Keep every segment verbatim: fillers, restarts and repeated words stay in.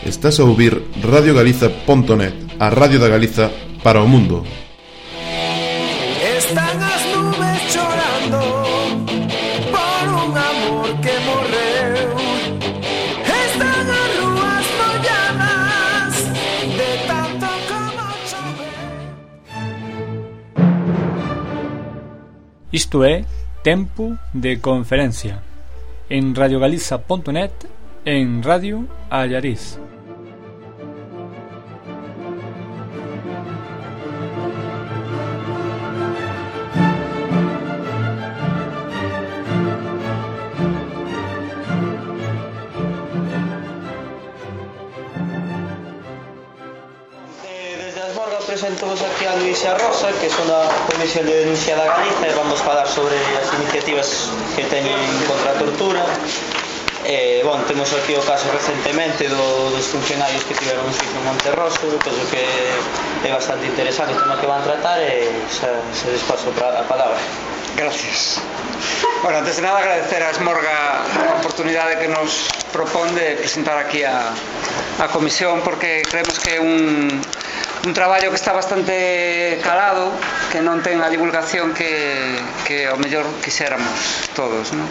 Estás a ouvir radio galiza punto net, a radio da Galiza para o mundo. Están as nubes chorando por un amor que morreu. Están as rúas molladas de tanto como choveu. Isto é Tempo de Conferencia en radio galiza punto net, en Radio Allariz. Presentamos aquí a Luisa Rosa, que son da Comisión de Denuncia da Galiza, e vamos falar sobre as iniciativas que teñen contra a tortura. Eh, bon, temos aquí o caso recentemente do, dos funcionarios que tiveron un sitio en Monterroso, penso que é bastante interesante o tema que van tratar e xa, se les paso a palabra. Gracias. Bueno, antes de nada agradecer a Esmorga a oportunidade que nos propón de presentar aquí a, a comisión, porque creemos que é un un traballo que está bastante calado, que non ten a divulgación que, que ao mellor quixéramos todos, non?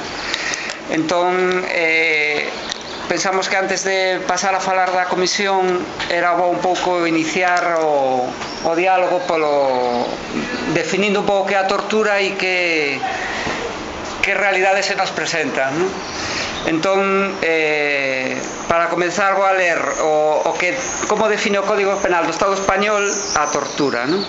Entón, eh, pensamos que antes de pasar a falar da comisión era bo un pouco iniciar o, o diálogo polo definindo un pouco que é a tortura e que que realidade se nos presenta, non? Entón, eh, para comenzar vou a ler o, o que, como define o Código Penal do Estado Español a tortura, non?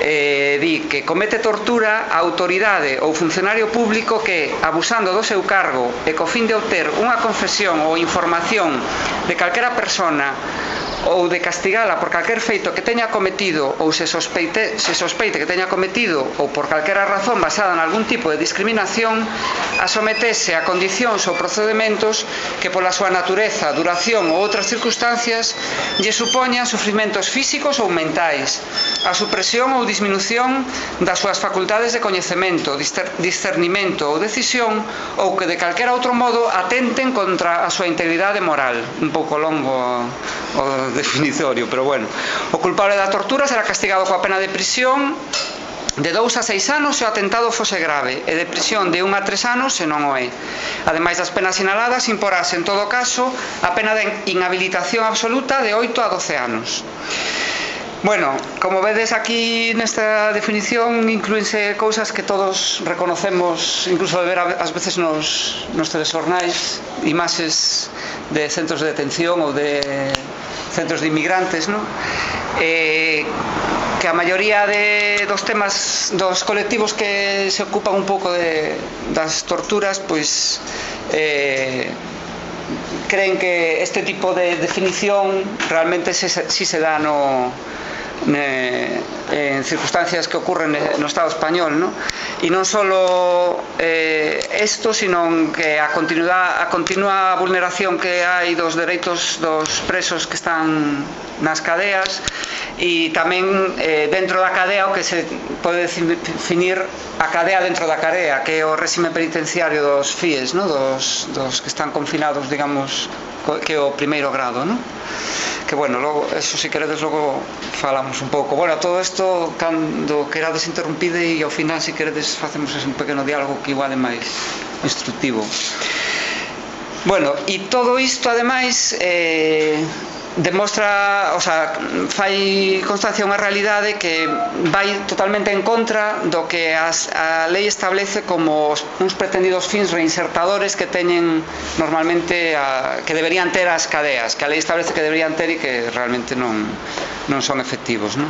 Eh, di que comete tortura a autoridade ou funcionario público que, abusando do seu cargo e co fin de obter unha confesión ou información de calquera persona ou de castigala por calquer feito que teña cometido ou se sospeite, se sospeite que teña cometido ou por calquera razón basada en algún tipo de discriminación, a sometese a condicións ou procedementos que pola súa natureza, duración ou outras circunstancias lle supoñan sufrimentos físicos ou mentais, a supresión ou disminución das súas facultades de coñecemento, discernimento ou decisión, ou que de calquera outro modo atenten contra a súa integridade moral. Un pouco longo o definitorio, pero bueno. O culpable da tortura será castigado coa pena de prisión de dous a seis anos se o atentado fose grave e de prisión de un a tres anos se non o é. Ademais das penas sinaladas, imporase en todo caso a pena de inhabilitación absoluta de oito a doce anos. Bueno, como vedes aquí nesta definición inclúense cousas que todos reconocemos, incluso de ver ás veces nos, nos telexornais, imaxes de centros de detención ou de centros de inmigrantes, ¿no? Eh, que a maioría de, dos temas dos colectivos que se ocupan un pouco de, das torturas, pois eh, creen que este tipo de definición realmente si se, si se dá no en circunstancias que ocurren no Estado español, ¿no? E non só eh, isto, sino que a, a continua vulneración que hai dos dereitos dos presos que están nas cadeas e tamén eh, dentro da cadea o que se pode definir a cadea dentro da cadea, que é o réxime penitenciario dos F I Es, ¿no? dos, dos que están confinados, digamos, que é o primeiro grado, ¿no? Que bueno, logo, eso si queredes logo falamos un pouco. Bueno, todo isto cando querades interrumpide e ao final si queredes facemos un pequeno diálogo que igual é máis instructivo. Bueno, e todo isto ademais eh, demostra, o sea, fai constancia unha realidade que vai totalmente en contra do que as, a lei establece como uns pretendidos fins reinsertadores que teñen normalmente a, que deberían ter as cadeas, que a lei establece que deberían ter e que realmente non, non son efectivos, non?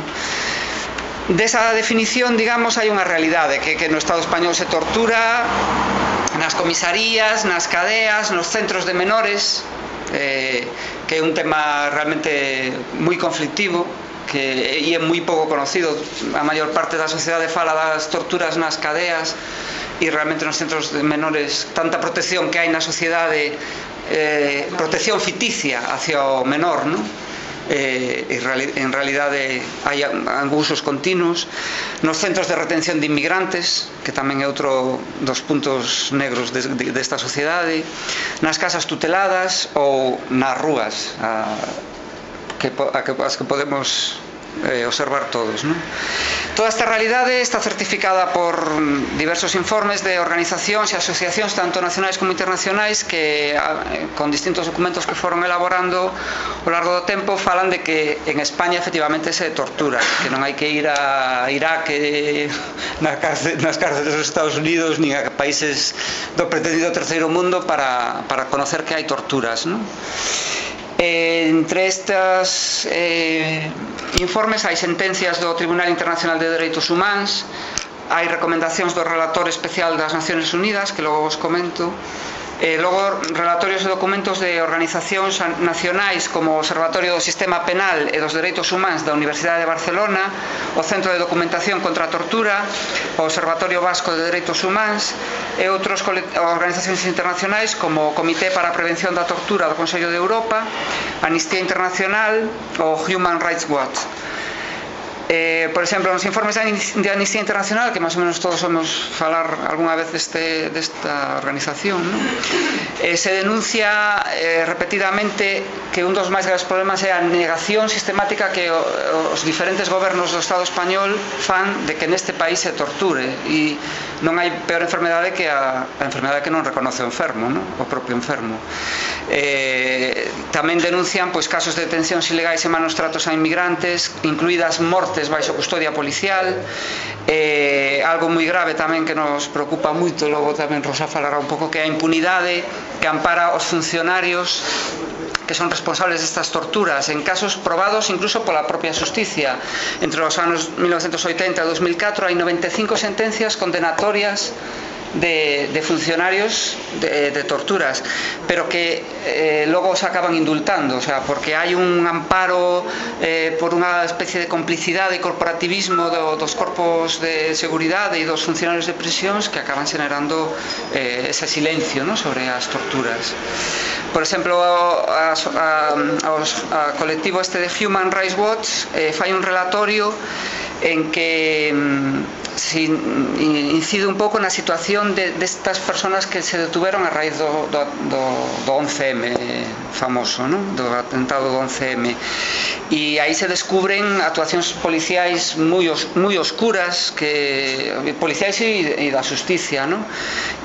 Desa definición, digamos, hai unha realidade que, que no Estado español se tortura nas comisarías, nas cadeas, nos centros de menores, eh, que é un tema realmente moi conflictivo, que e é moi pouco conocido. A maior parte da sociedade fala das torturas nas cadeas e realmente nos centros de menores tanta protección que hai na sociedade, eh, protección ficticia hacia o menor, non? eh, en realidade hai abusos continuos, nos centros de retención de inmigrantes, que tamén é outro dos puntos negros de, de, desta sociedade, nas casas tuteladas ou nas rúas, a, que, a que, as que podemos eh, observar todos, non? Toda esta realidade está certificada por diversos informes de organizacións e asociacións tanto nacionais como internacionais que con distintos documentos que foron elaborando ao largo do tempo falan de que en España efectivamente se tortura, que non hai que ir a Irak nas cárceles dos Estados Unidos nin a países do pretendido terceiro mundo para, para conocer que hai torturas, non? Eh, entre estes eh, informes hai sentencias do Tribunal Internacional de Dereitos Humanos, hai recomendacións do Relator Especial das Nacións Unidas, que logo vos comento, e logo relatorios e documentos de organizacións nacionais como o Observatorio do Sistema Penal e dos Dereitos Humanos da Universidade de Barcelona, o Centro de Documentación contra a Tortura, o Observatorio Vasco de Dereitos Humanos e outras organizacións internacionais como o Comité para a Prevención da Tortura do Consello de Europa, Amnistía Internacional ou Human Rights Watch. Eh, por exemplo, nos informes de Amnistía Internacional, que máis ou menos todos somos falar algunha vez deste, desta organización, ¿no? eh, se denuncia eh, repetidamente que un dos máis graves problemas é a negación sistemática que o, os diferentes gobernos do Estado español fan de que neste país se torture, e non hai peor enfermedade que a, a enfermedade que non reconoce o enfermo, ¿no? O propio enfermo. Eh, tamén denuncian pois, casos de detencións ilegais e malos tratos a inmigrantes, incluídas mortes baixo custodia policial, eh, algo moi grave tamén que nos preocupa moito, logo tamén Rosa falará un pouco, que a impunidade que ampara os funcionarios que son responsables destas torturas en casos probados incluso pola propia xusticia. Entre os anos mil novecentos oitenta e dos mil catro hai noventa e cinco sentencias condenatorias De, de funcionarios de, de torturas, pero que eh, logo se acaban indultando, o sea, porque hai un amparo eh, por unha especie de complicidade e corporativismo do, dos corpos de seguridade e dos funcionarios de prisións que acaban generando eh, ese silencio, ¿no? Sobre as torturas. Por exemplo, a, a, a, a colectivo este de Human Rights Watch eh, fai un relatorio en que se incide un pouco na situación de, destas personas que se detuveron a raíz do, do, do, do once eme famoso, ¿no? Do atentado do once eme, e aí se descubren actuacións policiais moi, os, moi oscuras, que policiais e, e da justicia, ¿no?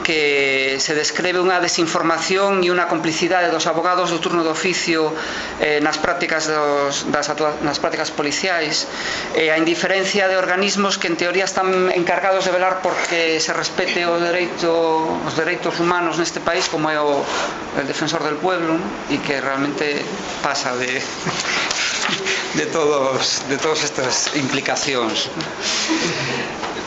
Que se describe unha desinformación e unha complicidade dos abogados do turno de oficio eh, nas prácticas dos, das nas prácticas policiais, e a indiferencia de organismos que en teoría están encargados de velar porque se respete o dereito, os dereitos humanos neste país, como é o el defensor del pueblo, ¿no? E que realmente pasa de de todos de todas estas implicacións.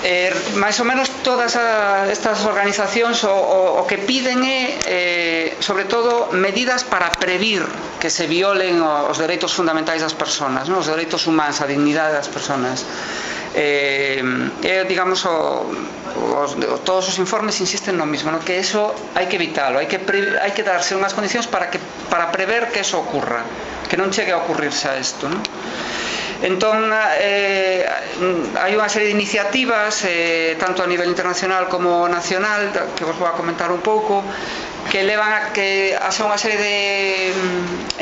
Eh, máis ou menos todas a, estas organizacións o, o, o que piden é eh, sobre todo medidas para previr que se violen os dereitos fundamentais das persoas, ¿no? Os dereitos humanos, a dignidade das persoas. Eh, eh, digamos o, os, todos os informes insisten no mismo, ¿no? Que eso hai que evitalo, hai que, pre, hai que darse unhas condicións para, que, para prever que eso ocurra, que non chegue a ocurrirse a isto, ¿no? Entón, eh, hai unha serie de iniciativas eh, tanto a nivel internacional como nacional, que vos vou a comentar un pouco, que levan a que a ser unha serie de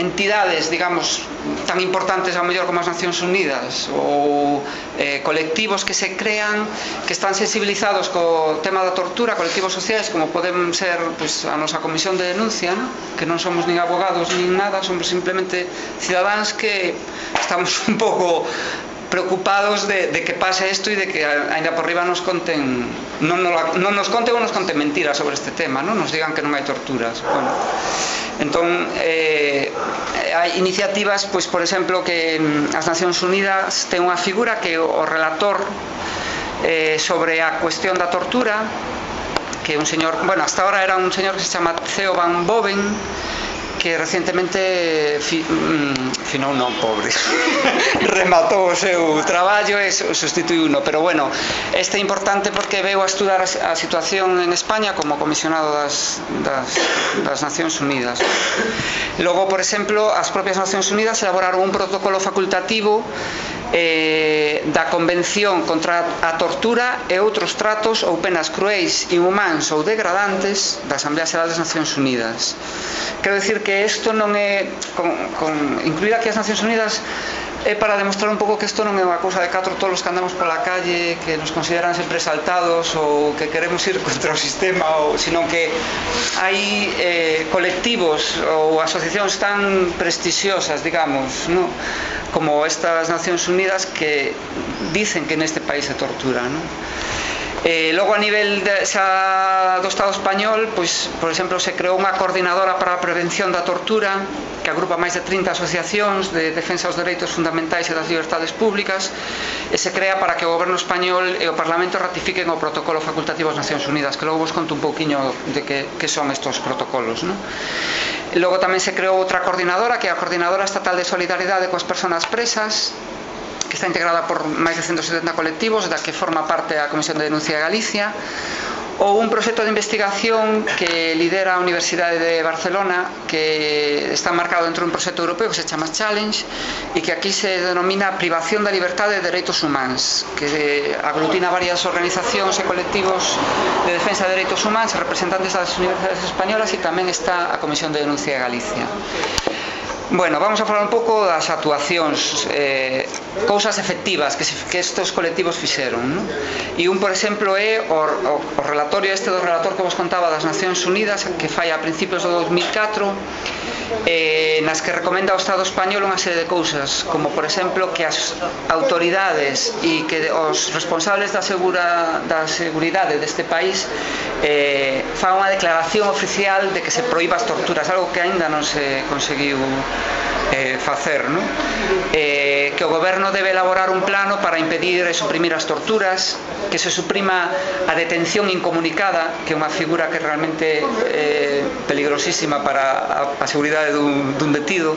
entidades, digamos, tan importantes ao mellor como as Nacións Unidas, ou eh, colectivos que se crean, que están sensibilizados co tema da tortura, colectivos sociais como poden ser pues, a nosa comisión de denuncia, ¿no? Que non somos nin abogados nin nada, somos simplemente cidadáns que estamos un pouco preocupados de, de que pase isto e de que ainda por riba nos conten non, non, non nos conten ou nos conten mentiras sobre este tema, non nos digan que non hai torturas. Bueno, entón eh, hai iniciativas, pois por exemplo, que as Nacións Unidas ten unha figura que o relator eh, sobre a cuestión da tortura, que un señor, bueno, hasta ahora era un señor que se chama Theo Van Boven, que recientemente fi, mm, finou non, pobre rematou o seu traballo e sustituiuno, pero bueno, este é importante porque veu a estudar a situación en España como comisionado das, das, das Nacións Unidas. Logo, por exemplo, as propias Nacións Unidas elaboraron un protocolo facultativo eh, da Convención contra a tortura e outros tratos ou penas cruéis, inhumáns ou degradantes da Asamblea Xeral das Nacións Unidas. Quero dicir que isto non é con, con incluir aquí as Nacións Unidas é para demostrar un pouco que isto non é unha cousa de catro tolos que andamos pola calle, que nos consideran sempre exaltados ou que queremos ir contra o sistema, ou, sino que hai eh, colectivos ou asociacións tan prestixiosas, digamos, ¿no?, como estas Nacións Unidas que dicen que neste país se tortura, ¿no? Eh, logo a nivel de, xa do Estado español, pois, por exemplo, se creou unha coordinadora para a prevención da tortura que agrupa máis de trinta asociacións de defensa dos dereitos fundamentais e das liberdades públicas, e se crea para que o goberno español e o Parlamento ratifiquen o protocolo facultativo das Nacións Unidas, que logo vos conto un pouquiño de que, que son estos protocolos, ¿no? Logo tamén se creou outra coordinadora, que é a Coordinadora Estatal de Solidaridade coas Persoas Presas, que está integrada por máis de ciento setenta colectivos, da que forma parte a Comisión de Denuncia de Galicia, ou un proxecto de investigación que lidera a Universidade de Barcelona, que está marcado dentro dun proxecto europeo que se chama Challenge, e que aquí se denomina Privación da Libertade de Dereitos Humanos, que aglutina varias organizacións e colectivos de defensa de dereitos humanos, representantes das universidades españolas, e tamén está a Comisión de Denuncia de Galicia. Bueno, vamos a falar un pouco das actuacións, eh, cousas efectivas que, se, que estes colectivos fixeron, ¿no? E un, por exemplo, é o, o, o relatorio este do relator que vos contaba das Nacións Unidas, que fai a principios do dos mil catro, eh, nas que recomenda ao Estado español unha serie de cousas, como, por exemplo, que as autoridades e que os responsables da, segura, da seguridade deste país eh, fan unha declaración oficial de que se proíba as torturas, algo que aínda non se conseguiu Eh, facer, ¿no? eh, que o goberno debe elaborar un plano para impedir e suprimir as torturas, que se suprima a detención incomunicada, que é unha figura que realmente é eh, peligrosísima para a, a seguridade dun, dun detido,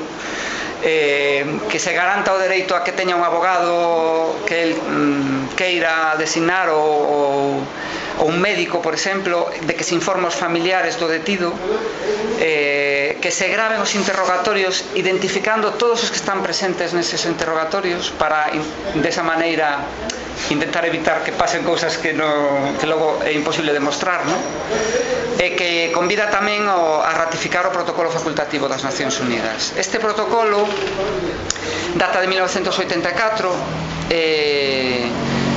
eh, que se garanta o dereito a que teña un abogado que el mm, queira designar ou, ou un médico, por exemplo, de que se informe aos familiares do detido, eh, que se graven os interrogatorios identificando todos os que están presentes neses interrogatorios para, desa maneira, intentar evitar que pasen cousas que, no, que logo é imposible demostrar, ¿no? E que convida tamén o, a ratificar o protocolo facultativo das Nacións Unidas. Este protocolo data de mil novecentos oitenta e catro, eh,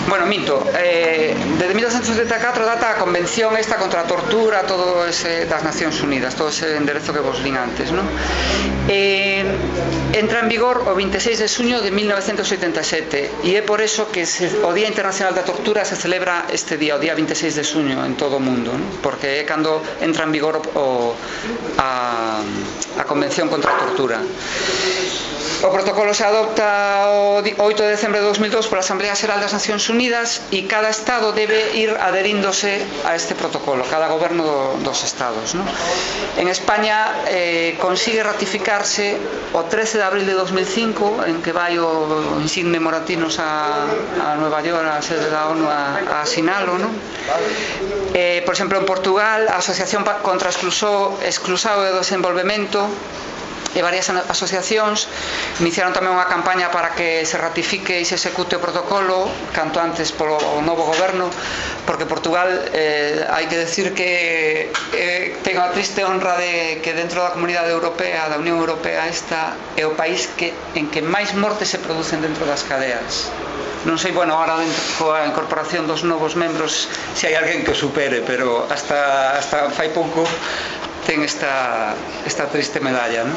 bueno, minto, eh, desde mil novecentos oitenta e catro data a convención esta contra a tortura, todo ese das Nacións Unidas, todo ese enderezo que vos vin antes, ¿no? Eh, entra en vigor o vinte e seis de xuño de mil novecentos oitenta e sete, e é por eso que se, o Día Internacional da Tortura se celebra este día, o día vinte e seis de xuño en todo o mundo, ¿no? Porque é cando entra en vigor o, a, a convención contra a tortura. O protocolo se adopta o oito de decembro de dos mil dos pola Asamblea Xeral das Nacións Unidas, e cada Estado debe ir adheríndose a este protocolo, cada goberno do, dos Estados, ¿no? En España eh, consigue ratificarse o trece de abril de dos mil cinco, en que vai o insigne Moratinos a, a Nueva York, a sede da ONU, a, a asinalo, ¿no? Eh, por exemplo, en Portugal, a Asociación contra Exclusao e o Desenvolvemento e varias asociacións iniciaron tamén unha campaña para que se ratifique e se execute o protocolo canto antes polo novo goberno, porque Portugal, eh, hai que decir que eh, ten a triste honra de que dentro da Comunidade Europea, da Unión Europea, esta é o país que, en que máis mortes se producen dentro das cadeas. Non sei, bueno, agora dentro coa incorporación dos novos membros se hai alguén que o supere, pero hasta, hasta fai pouco ten esta, esta triste medalla, ¿no?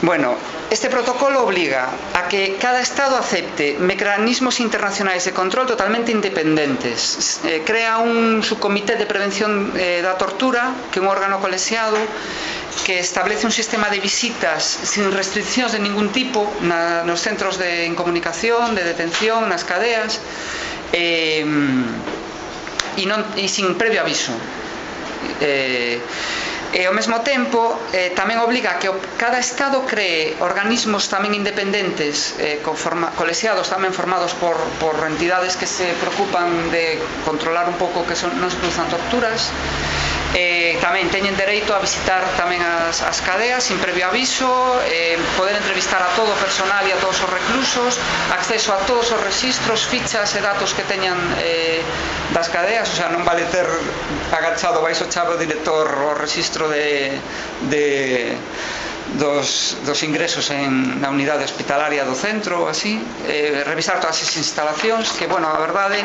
Bueno, este protocolo obliga a que cada Estado acepte mecanismos internacionais de control totalmente independentes. Eh, crea un subcomité de prevención eh, da tortura, que é un órgano colexiado, que establece un sistema de visitas sin restriccións de ningún tipo na, nos centros de incomunicación, de detención, nas cadeas, eh, e, non, e sin previo aviso. Eh, E ao mesmo tempo eh, tamén obliga a que o, cada Estado cree organismos tamén independentes, eh, conforma, colexiados tamén formados por, por entidades que se preocupan de controlar un pouco que son, non se produzan torturas. Eh, tamén teñen dereito a visitar tamén as, as cadeas sin previo aviso, eh, poder entrevistar a todo o personal e a todos os reclusos, acceso a todos os registros, fichas e datos que teñan eh, das cadeas, o sea, non vale ter agachado baixo chave o director o registro de, de dos, dos ingresos en, na unidade hospitalaria do centro ou así, eh, revisar todas as instalacións, que, bueno, a verdade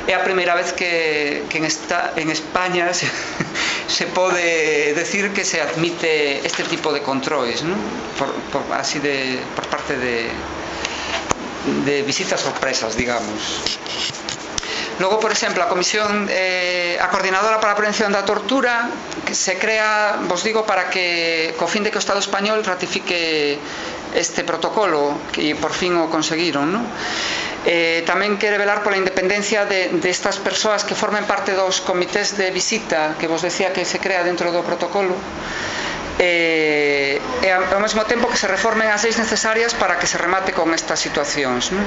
é a primeira vez que, que en, esta, en España se, se pode decir que se admite este tipo de controles, ¿no? por, por, así de, por parte de, de visitas sorpresas, digamos. Logo, por exemplo, a Comisión, eh, a Coordinadora para a Prevención da Tortura, que se crea, vos digo, para que, co fin de que o Estado español ratifique este protocolo, que por fin o conseguiron, ¿no? Eh, tamén quere velar pola independencia de, de estas persoas que formen parte dos comités de visita que vos decía que se crea dentro do protocolo, eh, e ao mesmo tempo que se reformen as leis necesarias para que se remate con estas situacións, ¿no?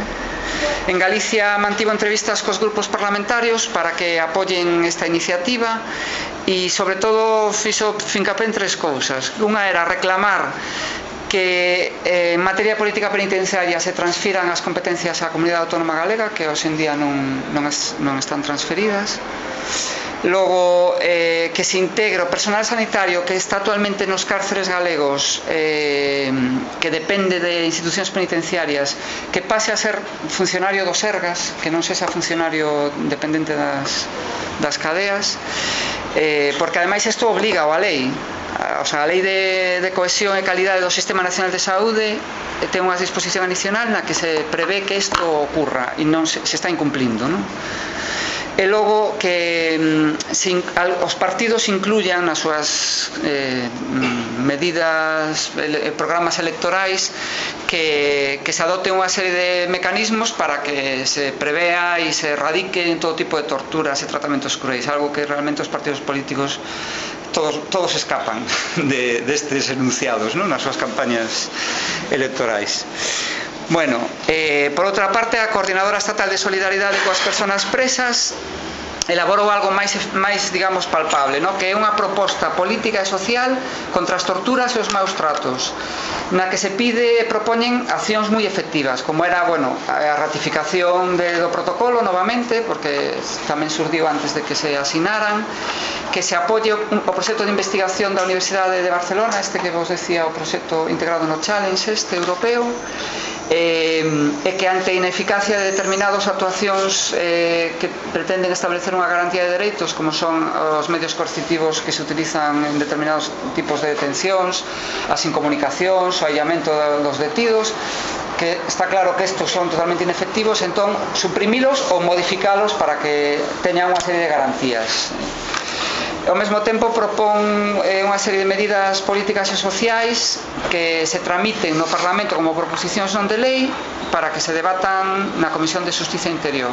En Galicia mantivo entrevistas cos grupos parlamentarios para que apoyen esta iniciativa e sobre todo fixo fincapé en tres cousas. Unha era reclamar que eh, en materia de política penitenciaria se transfiran as competencias á Comunidade Autónoma Galega, que hoxe en día non, non, es, non están transferidas. Logo, eh, que se integre o personal sanitario que está actualmente nos cárceres galegos, eh, que depende de institucións penitenciarias, que pase a ser funcionario do Sergas, que non sexa funcionario dependente das, das cadeas, eh, porque ademais isto obliga a lei. O sea, a Lei de, de Cohesión e Calidade do Sistema Nacional de Saúde ten unha disposición adicional na que se prevé que isto ocurra e non se, se está incumplindo, non? E logo que se, os partidos incluyan nas súas eh, medidas, programas electorais que, que se adopte unha serie de mecanismos para que se prevea e se erradiquen todo tipo de torturas e tratamentos cruéis, algo que realmente os partidos políticos todos, todos escapan de, de estes enunciados, ¿no? Nas súas campañas electorais. Bueno, eh, por outra parte, a Coordinadora Estatal de Solidaridade coas Persoas Presas elaborou algo máis, máis digamos, palpable, ¿no? Que é unha proposta política e social contra as torturas e os maus tratos, na que se pide e propoñen accións moi efectivas, como era, bueno, a ratificación de, do protocolo novamente, porque tamén surdiu antes de que se asinaran, que se apoie o, o proxecto de investigación da Universidade de Barcelona, este que vos decía, o proxecto integrado no Challenge este europeo, eh, e que ante a ineficacia de determinadas actuacións eh, que pretenden establecer unha garantía de dereitos, como son os medios coercitivos que se utilizan en determinados tipos de detencións, as incomunicacións, o aillamento dos detidos, que está claro que estos son totalmente inefectivos, entón suprimilos ou modificalos para que teñan unha serie de garantías. Ao mesmo tempo propón eh, unha serie de medidas políticas e sociais que se tramiten no Parlamento como proposicións non de lei para que se debatan na Comisión de Xustiza Interior.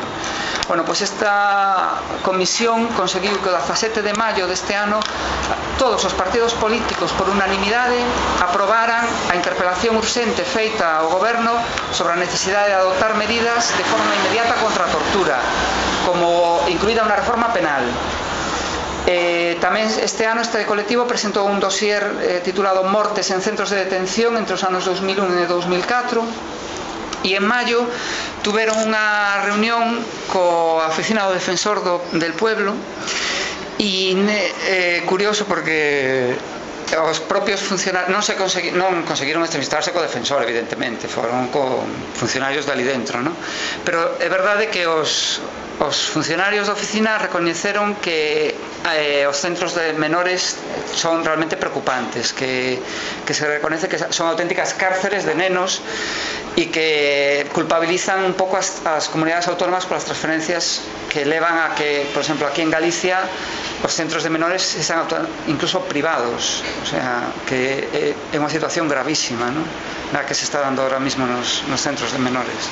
Bueno, pois esta comisión conseguiu que o dezasete de maio deste ano todos os partidos políticos por unanimidade aprobaran a interpelación urxente feita ao Goberno sobre a necesidade de adoptar medidas de forma inmediata contra a tortura, como incluída unha reforma penal. Eh, tamén este ano este colectivo presentou un dossier eh, titulado Mortes en centros de detención entre os anos dous mil un e dous mil catro, e en maio tuveron unha reunión coa oficina do Defensor do, del Pueblo, e eh, curioso porque os propios funcionarios non se consegui, non conseguiron entrevistarse co defensor, evidentemente, foron con funcionarios dali dentro, ¿no? Pero é verdade que os os funcionarios da oficina recoñeceron que eh, os centros de menores son realmente preocupantes, que, que se reconoce que son auténticas cárceres de nenos e que culpabilizan un pouco as, as comunidades autónomas polas transferencias que levan a que, por exemplo, aquí en Galicia os centros de menores sean incluso privados, o sea, que é unha situación gravísima, ¿no? Na que se está dando ahora mismo nos, nos centros de menores.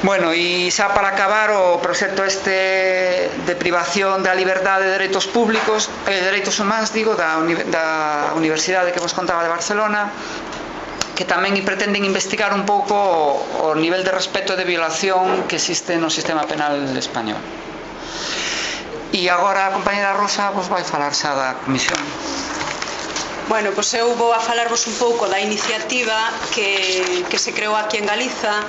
Bueno, e xa para acabar o proxecto este de privación da liberdade de dereitos públicos, eh, dereitos humanos, digo, da, uni da Universidade que vos contaba de Barcelona, que tamén pretenden investigar un pouco o, o nivel de respeto e de violación que existe no sistema penal español. E agora a compañera Rosa vos vai falar xa da comisión. Bueno, pois eu vou a falarvos un pouco da iniciativa que, que se creou aquí en Galiza,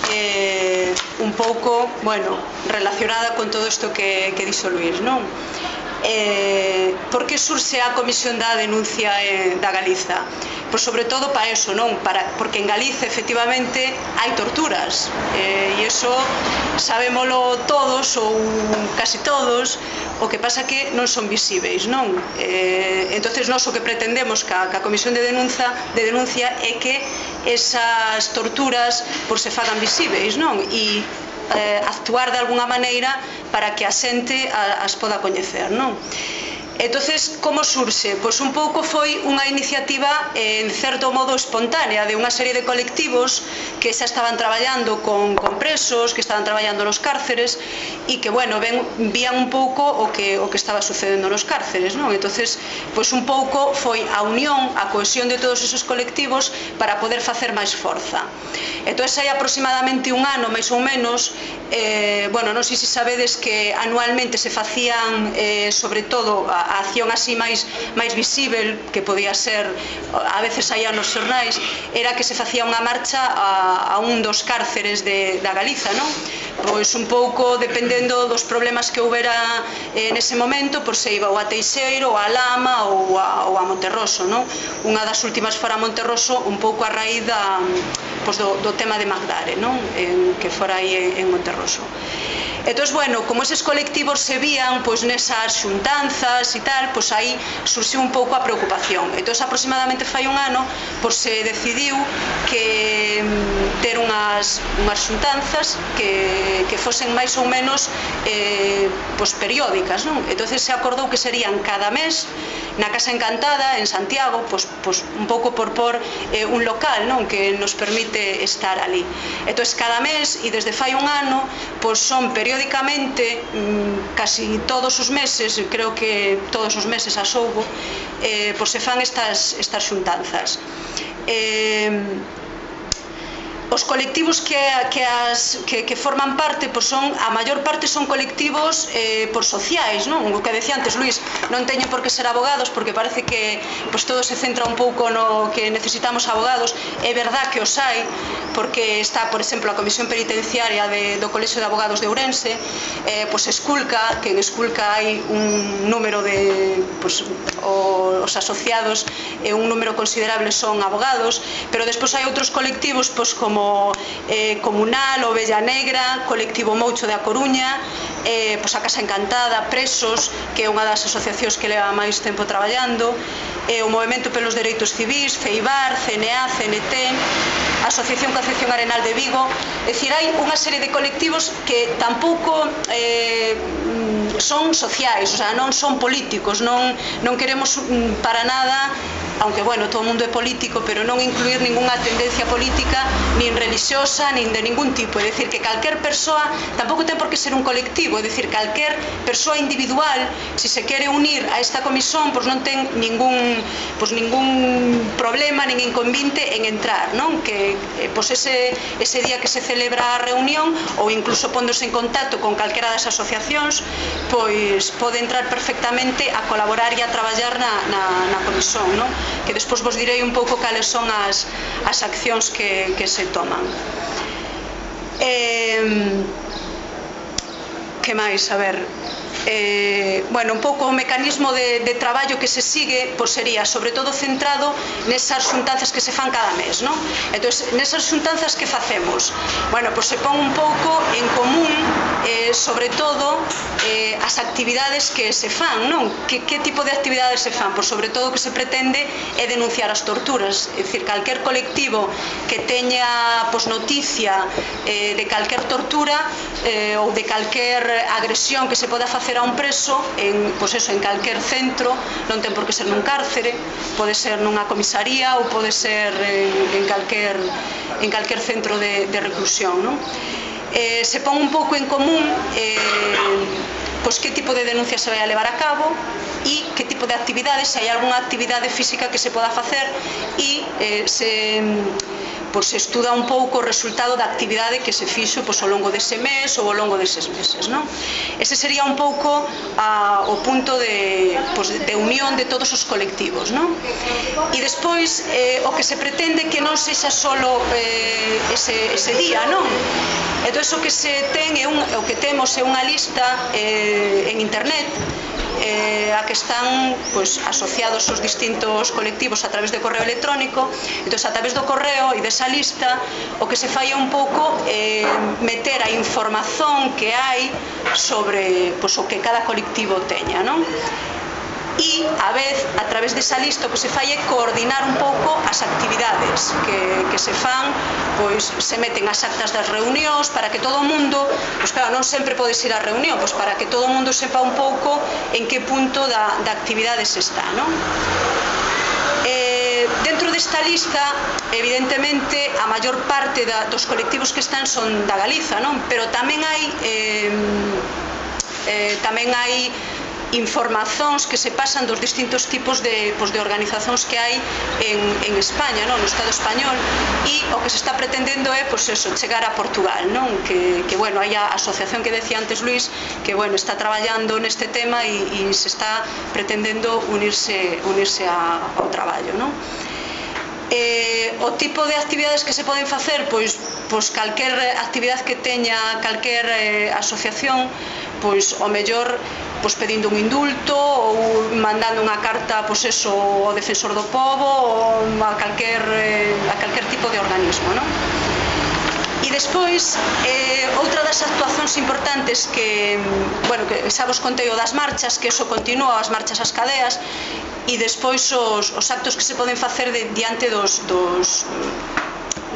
eh, un pouco, bueno, relacionada con todo isto que, que dixo Luís, non? Eh, por que surxe a Comisión da Denuncia eh, da Galiza? Pois sobre todo para eso, non? Para, porque en Galiza efectivamente hai torturas, eh, e iso sabémolo todos ou casi todos, o que pasa que non son visíveis, non? Eh, entonces nós o que pretendemos ca, ca Comisión de Denuncia, de denuncia é que esas torturas por se fagan visíveis, non? E eh, actuar de alguna maneira para que a xente as poda coñecer, non? Entonces, como surxe? Pois un pouco foi unha iniciativa en certo modo espontánea de unha serie de colectivos que xa estaban traballando con, con presos, que estaban traballando nos cárceres e que, bueno, ven, vían un pouco o que, o que estaba sucedendo nos cárceres, non? Entonces, pois un pouco foi a unión, a cohesión de todos esos colectivos para poder facer máis forza. Entón, hai aproximadamente un ano, máis ou menos, eh, bueno, non sei se sabedes que anualmente se facían, eh, sobre todo, a a acción así máis máis visível que podía ser, a veces saía nos xornais, era que se facía unha marcha a, a un dos cárceres de, da Galiza, non? Pois un pouco dependendo dos problemas que houbera eh, nese momento, pois se iba ou a Teixeiro, ou a Lama ou a, ou a Monterroso, non? Unha das últimas fora a Monterroso, un pouco a raíz da, pois do, do tema de Magdare, non? En, que fora aí en, en Monterroso. Entón, bueno, como eses colectivos se vían pois nesas xuntanzas e tal, pois aí surxiu un pouco a preocupación. Entón, aproximadamente fai un ano, pois se decidiu que ter unhas, unhas xuntanzas que, que fosen máis ou menos eh, pois periódicas, non? Entón, se acordou que serían cada mes na Casa Encantada, en Santiago, pois, pois un pouco por por eh, un local, non? Que nos permite estar ali. Entón, cada mes, e desde fai un ano, pois son periódicas periódicamente, casi todos os meses, creo que todos os meses as houbo, eh, pois se fan estas, estas xuntanzas. Eh, os colectivos que, que, as, que, que forman parte, pois son, a maior parte son colectivos eh, por sociais, non? O que decía antes Luís, non teñen por que ser abogados, porque parece que pois todo se centra un pouco no que necesitamos abogados. É verdad que os hai, porque está, por exemplo, a Comisión Penitenciaria de, do Colexio de Abogados de Ourense, eh, pois Esculca, que en Esculca hai un número de pois, o, os asociados, e un número considerable son abogados, pero despois hai outros colectivos, pois como como eh, Comunal, Ovella Negra, Colectivo Moucho de A Coruña, eh, pois a Casa Encantada, Presos, que é unha das asociacións que leva máis tempo traballando, eh, o Movemento pelos Dereitos Civís, Feibar, C N A, C N T, a Asociación Concepción Arenal de Vigo. É dicir, hai unha serie de colectivos que tampouco eh, son sociais, o sea, non son políticos, non, non queremos para nada, aunque, bueno, todo o mundo é político, pero non incluir ninguna tendencia política, nin religiosa, nin de ningún tipo. É dicir, que calquer persoa, tampouco ten por que ser un colectivo, é dicir, calquer persoa individual, se se quere unir a esta comisión, pois non ten ningún, pois ningún problema, nin inconvinte en entrar, non? Que pois ese, ese día que se celebra a reunión, ou incluso póndose en contacto con calquera das asociacións, pois pode entrar perfectamente a colaborar e a traballar na, na, na comisión, non? Que despois vos direi un pouco cales son as, as accións que, que se toman. Eh, que máis? A ver, eh, bueno, un pouco o mecanismo de, de traballo que se sigue, pois sería sobre todo centrado nesas xuntanzas que se fan cada mes, non? Entón, nesas xuntanzas que facemos? Bueno, pois se pon un pouco en común, eh, sobre todo, eh, as actividades que se fan, non? Que, que tipo de actividades se fan? Pois sobre todo o que se pretende é denunciar as torturas, é dicir, calquer colectivo que teña pois, noticia eh, de calquer tortura eh, ou de calquer agresión que se poda facer a un preso en, pois eso, en calquer centro, non ten por que ser nun cárcere, pode ser nunha comisaría ou pode ser en, en, calquer, en calquer centro de, de reclusión, non? eh, se pon un pouco en común eh, pois que tipo de denuncia se vai a levar a cabo e que tipo de actividades, se hai algunha actividade física que se poda facer e eh, se, pois, se estuda un pouco o resultado da actividade que se fixo pois, ao longo dese mes ou ao longo deses meses, non? Ese sería un pouco a, o punto de, pois, de unión de todos os colectivos, non? E despois eh, o que se pretende que non sexa solo eh, ese, ese día, non? Entón, o que se ten é un, o que temos é unha lista eh, en internet eh, a que están pois, asociados os distintos colectivos a través de correo electrónico. Entón, a través do correo e desa lista o que se fai é un pouco eh, meter a información que hai sobre pois, o que cada colectivo teña, non? E, a vez, a través desa lista o que se fai é coordinar un pouco as actividades que, que se fan, pois se meten as actas das reunións para que todo o mundo, pois claro, non sempre podes ir á reunión, pois para que todo o mundo sepa un pouco en que punto da, da actividade se está, non? Eh, dentro desta lista, evidentemente, a maior parte da, dos colectivos que están son da Galiza, non? Pero tamén hai eh, eh, tamén hai informacións que se pasan dos distintos tipos de, pues, de organizacións que hai en, en España, non? No Estado español, e o que se está pretendendo é pues, eso, chegar a Portugal, non? Que, que bueno, hai a asociación que decía antes Luis que bueno, está traballando neste tema e, e se está pretendendo unirse, unirse a, ao traballo, non? Eh, o tipo de actividades que se poden facer, pois, pois calquer actividade que teña calquer eh, asociación, pois o mellor pois pedindo un indulto ou mandando unha carta pois eso, ao defensor do pobo ou a calquer, eh, a calquer tipo de organismo, non? E despois, eh, outra das actuacións importantes que, bueno, que xa vos contei o das marchas, que eso continúa, as marchas ás cadeas, e despois os, os actos que se poden facer de, diante dos, dos,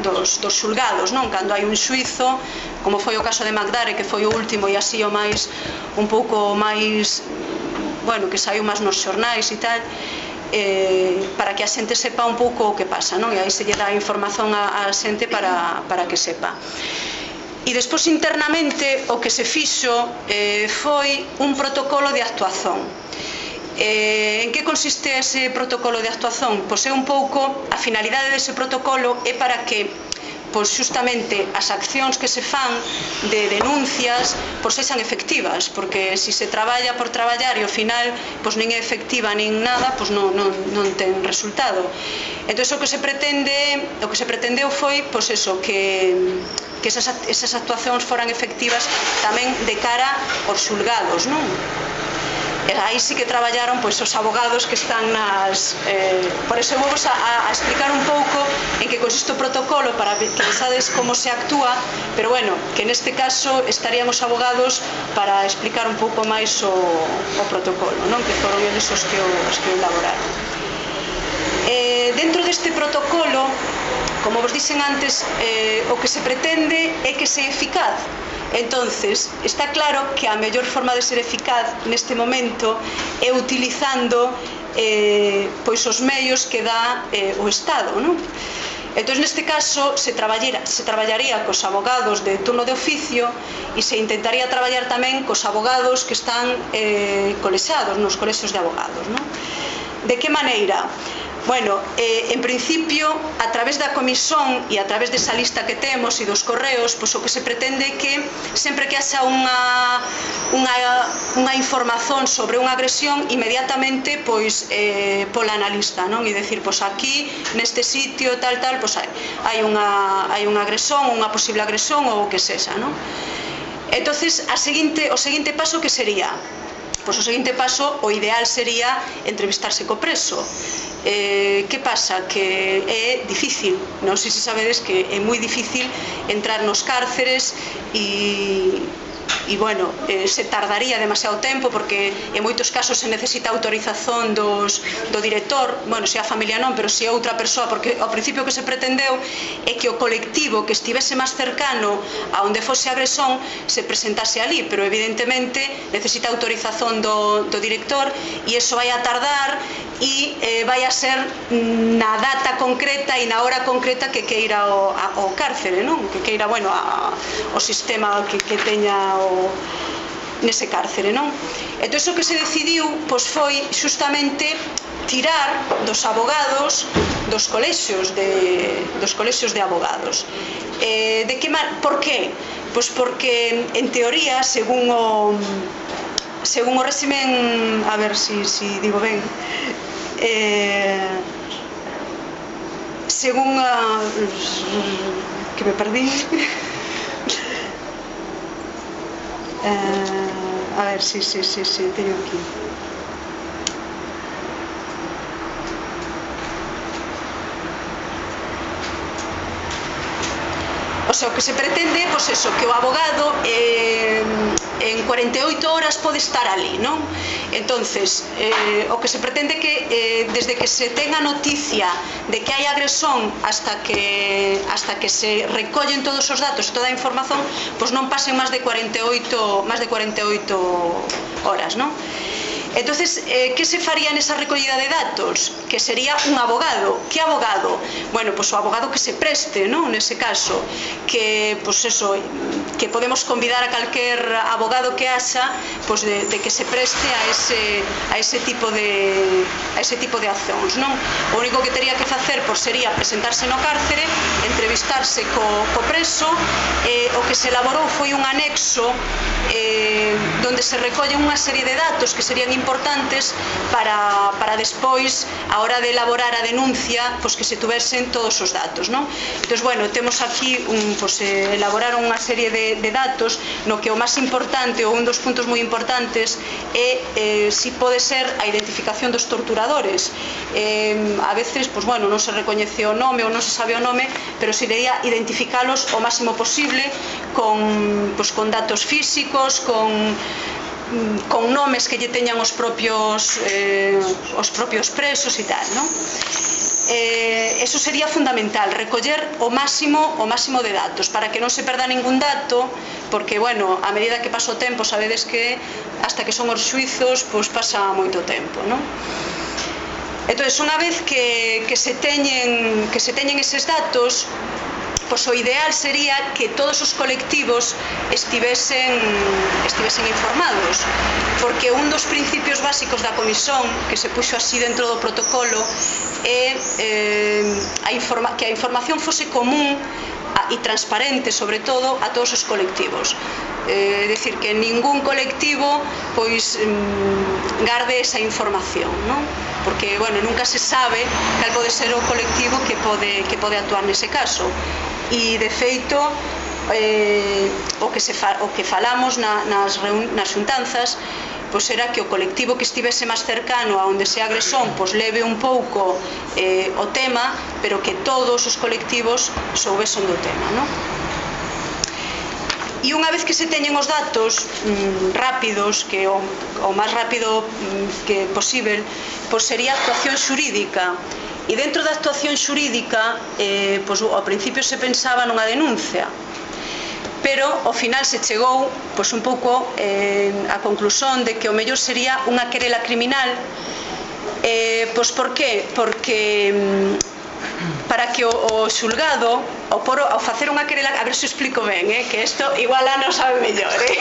dos, dos xulgados, non? Cando hai un xuizo, como foi o caso de Magdare, que foi o último e así o máis, un pouco máis, bueno, que saiu máis nos xornais e tal, eh, para que a xente sepa un pouco o que pasa, non? E aí se lle dá información a, a xente para, para que sepa. E despois internamente o que se fixo eh, foi un protocolo de actuación. Eh, en que consiste ese protocolo de actuación? Pois é un pouco, a finalidade dese protocolo é para que pois justamente as accións que se fan de denuncias pois sexan efectivas, porque se se traballa por traballar e ao final pois nin é efectiva nin nada, pois non, non, non ten resultado. Entón o que se pretende, o que se pretendeu foi pois eso, que que esas, esas actuacións foran efectivas tamén de cara aos xulgados, non? E aí sí que traballaron pois, os abogados que están nas... Eh, por eso vou a, a explicar un pouco en que consiste o protocolo para que pensades como se actúa, pero bueno, que neste caso estarían os abogados para explicar un pouco máis o, o protocolo, non? Que foron eles os que o, os que o elaboraron. Eh, dentro deste protocolo, como vos dixen antes, eh, o que se pretende é que sea eficaz. Entonces, está claro que a mellor forma de ser eficaz neste momento é utilizando eh, pois os medios que dá eh, o Estado, non? Entón, neste caso, se traballaría, se traballaría cos abogados de turno de oficio e se intentaría traballar tamén cos abogados que están eh, colexados nos colexios de abogados, non? De que maneira? Bueno, eh, en principio, a través da comisión e a través desa lista que temos e dos correos, pois o que se pretende é que sempre que haxa unha, unha, unha información sobre unha agresión, inmediatamente pois eh, pola na lista, non? E decir, pois aquí, neste sitio, tal, tal, pois hai, hai, unha, hai unha agresión, unha posible agresión ou o que sexa, non? Entonces, a seguinte, o seguinte paso que sería? Pois o seguinte paso, o ideal sería entrevistarse co preso. Eh, que pasa? Que é difícil, non sei se sabedes que é moi difícil entrar nos cárceres e, e bueno, eh, se tardaría demasiado tempo porque en moitos casos se necesita autorización dos, do director, bueno, se a familia non, pero se outra persoa, porque ao principio que se pretendeu é que o colectivo que estivese máis cercano a onde fose a agresión se presentase ali, pero evidentemente necesita autorización do, do director e iso vai a tardar e eh, vai a ser na data concreta e na hora concreta que queira o, a, o cárcere, non? Que queira, bueno, a, o sistema que, que teña o, nese cárcere, non? Entón, o que se decidiu pois, foi justamente tirar dos abogados dos colexios de, dos colexios de abogados. Eh, de que, por qué? Pois porque, en teoría, según o según o réximen, a ver si, si digo ben, eh, según a que me perdí eh, a ver, si, si, si, si teño aquí. O sea, o que se pretende, pois eso, que o abogado eh, en cuarenta e oito horas pode estar ali, non? Entonces, eh, o que se pretende que eh, desde que se tenga noticia de que hai agresón hasta que hasta que se recollen todos os datos, toda a información, pois non pasen máis de cuarenta e oito máis de cuarenta e oito horas, non? Entonces, eh, que se faría nesa recollida de datos? Que sería un abogado. Que abogado? Bueno, pois o abogado que se preste, non? Nese caso, que, pois eso, que podemos convidar a calquer abogado que haxa, pois de, de que se preste a ese, a ese tipo de a ese tipo de accións, non? O único que tería que facer, pois sería presentarse no cárcere, entrevistarse co, co preso, eh, o que se elaborou foi un anexo eh, donde se recollen unha serie de datos que serían importantes para, para despois, a hora de elaborar a denuncia, pois que se tuvesen todos os datos, non? Entón, bueno, temos aquí un, pois, eh, elaborar unha serie de, de datos no que o máis importante ou un dos puntos moi importantes é eh, si pode ser a identificación dos torturadores. Eh, a veces, pois, bueno, non se recoñece o nome ou non se sabe o nome, pero sería identificalos o máximo posible con, pois, con datos físicos, con con nomes que lle teñan os propios eh, os propios presos e tal, non? Eh, eso sería fundamental, recoller o máximo o máximo de datos para que non se perda ningún dato, porque, bueno, a medida que pasa o tempo, sabedes que hasta que son os xuizos, pois pasa moito tempo, non? Entón, unha vez que, que se teñen que se teñen eses datos, pois o ideal sería que todos os colectivos estivesen, estivesen informados, porque un dos principios básicos da comisión, que se puxo así dentro do protocolo, é eh, a informa que a información fose común e transparente, sobre todo, a todos os colectivos. É eh, dicir, que ningún colectivo pois mm, garde esa información, non? Porque, bueno, nunca se sabe cal pode ser o colectivo que pode, que pode actuar nese caso. E, de feito, eh, o, que se fa, o que falamos na, nas, reun, nas xuntanzas, pois era que o colectivo que estivese máis cercano a onde se agresión, pois leve un pouco eh, o tema, pero que todos os colectivos soubesen do tema, non? E unha vez que se teñen os datos mmm, rápidos, que o, o máis rápido mmm, que posible, pois sería a actuación xurídica. E dentro da actuación xurídica, eh, pois, ao principio se pensaba nunha denuncia, pero ao final se chegou pois, un pouco eh, a conclusión de que o mellor sería unha querela criminal. Eh, pois por qué? Porque mm, para que o, o xulgado, ao, poro, ao facer unha querela, a ver se explico ben, eh, que isto igual a non sabe mellor, eh?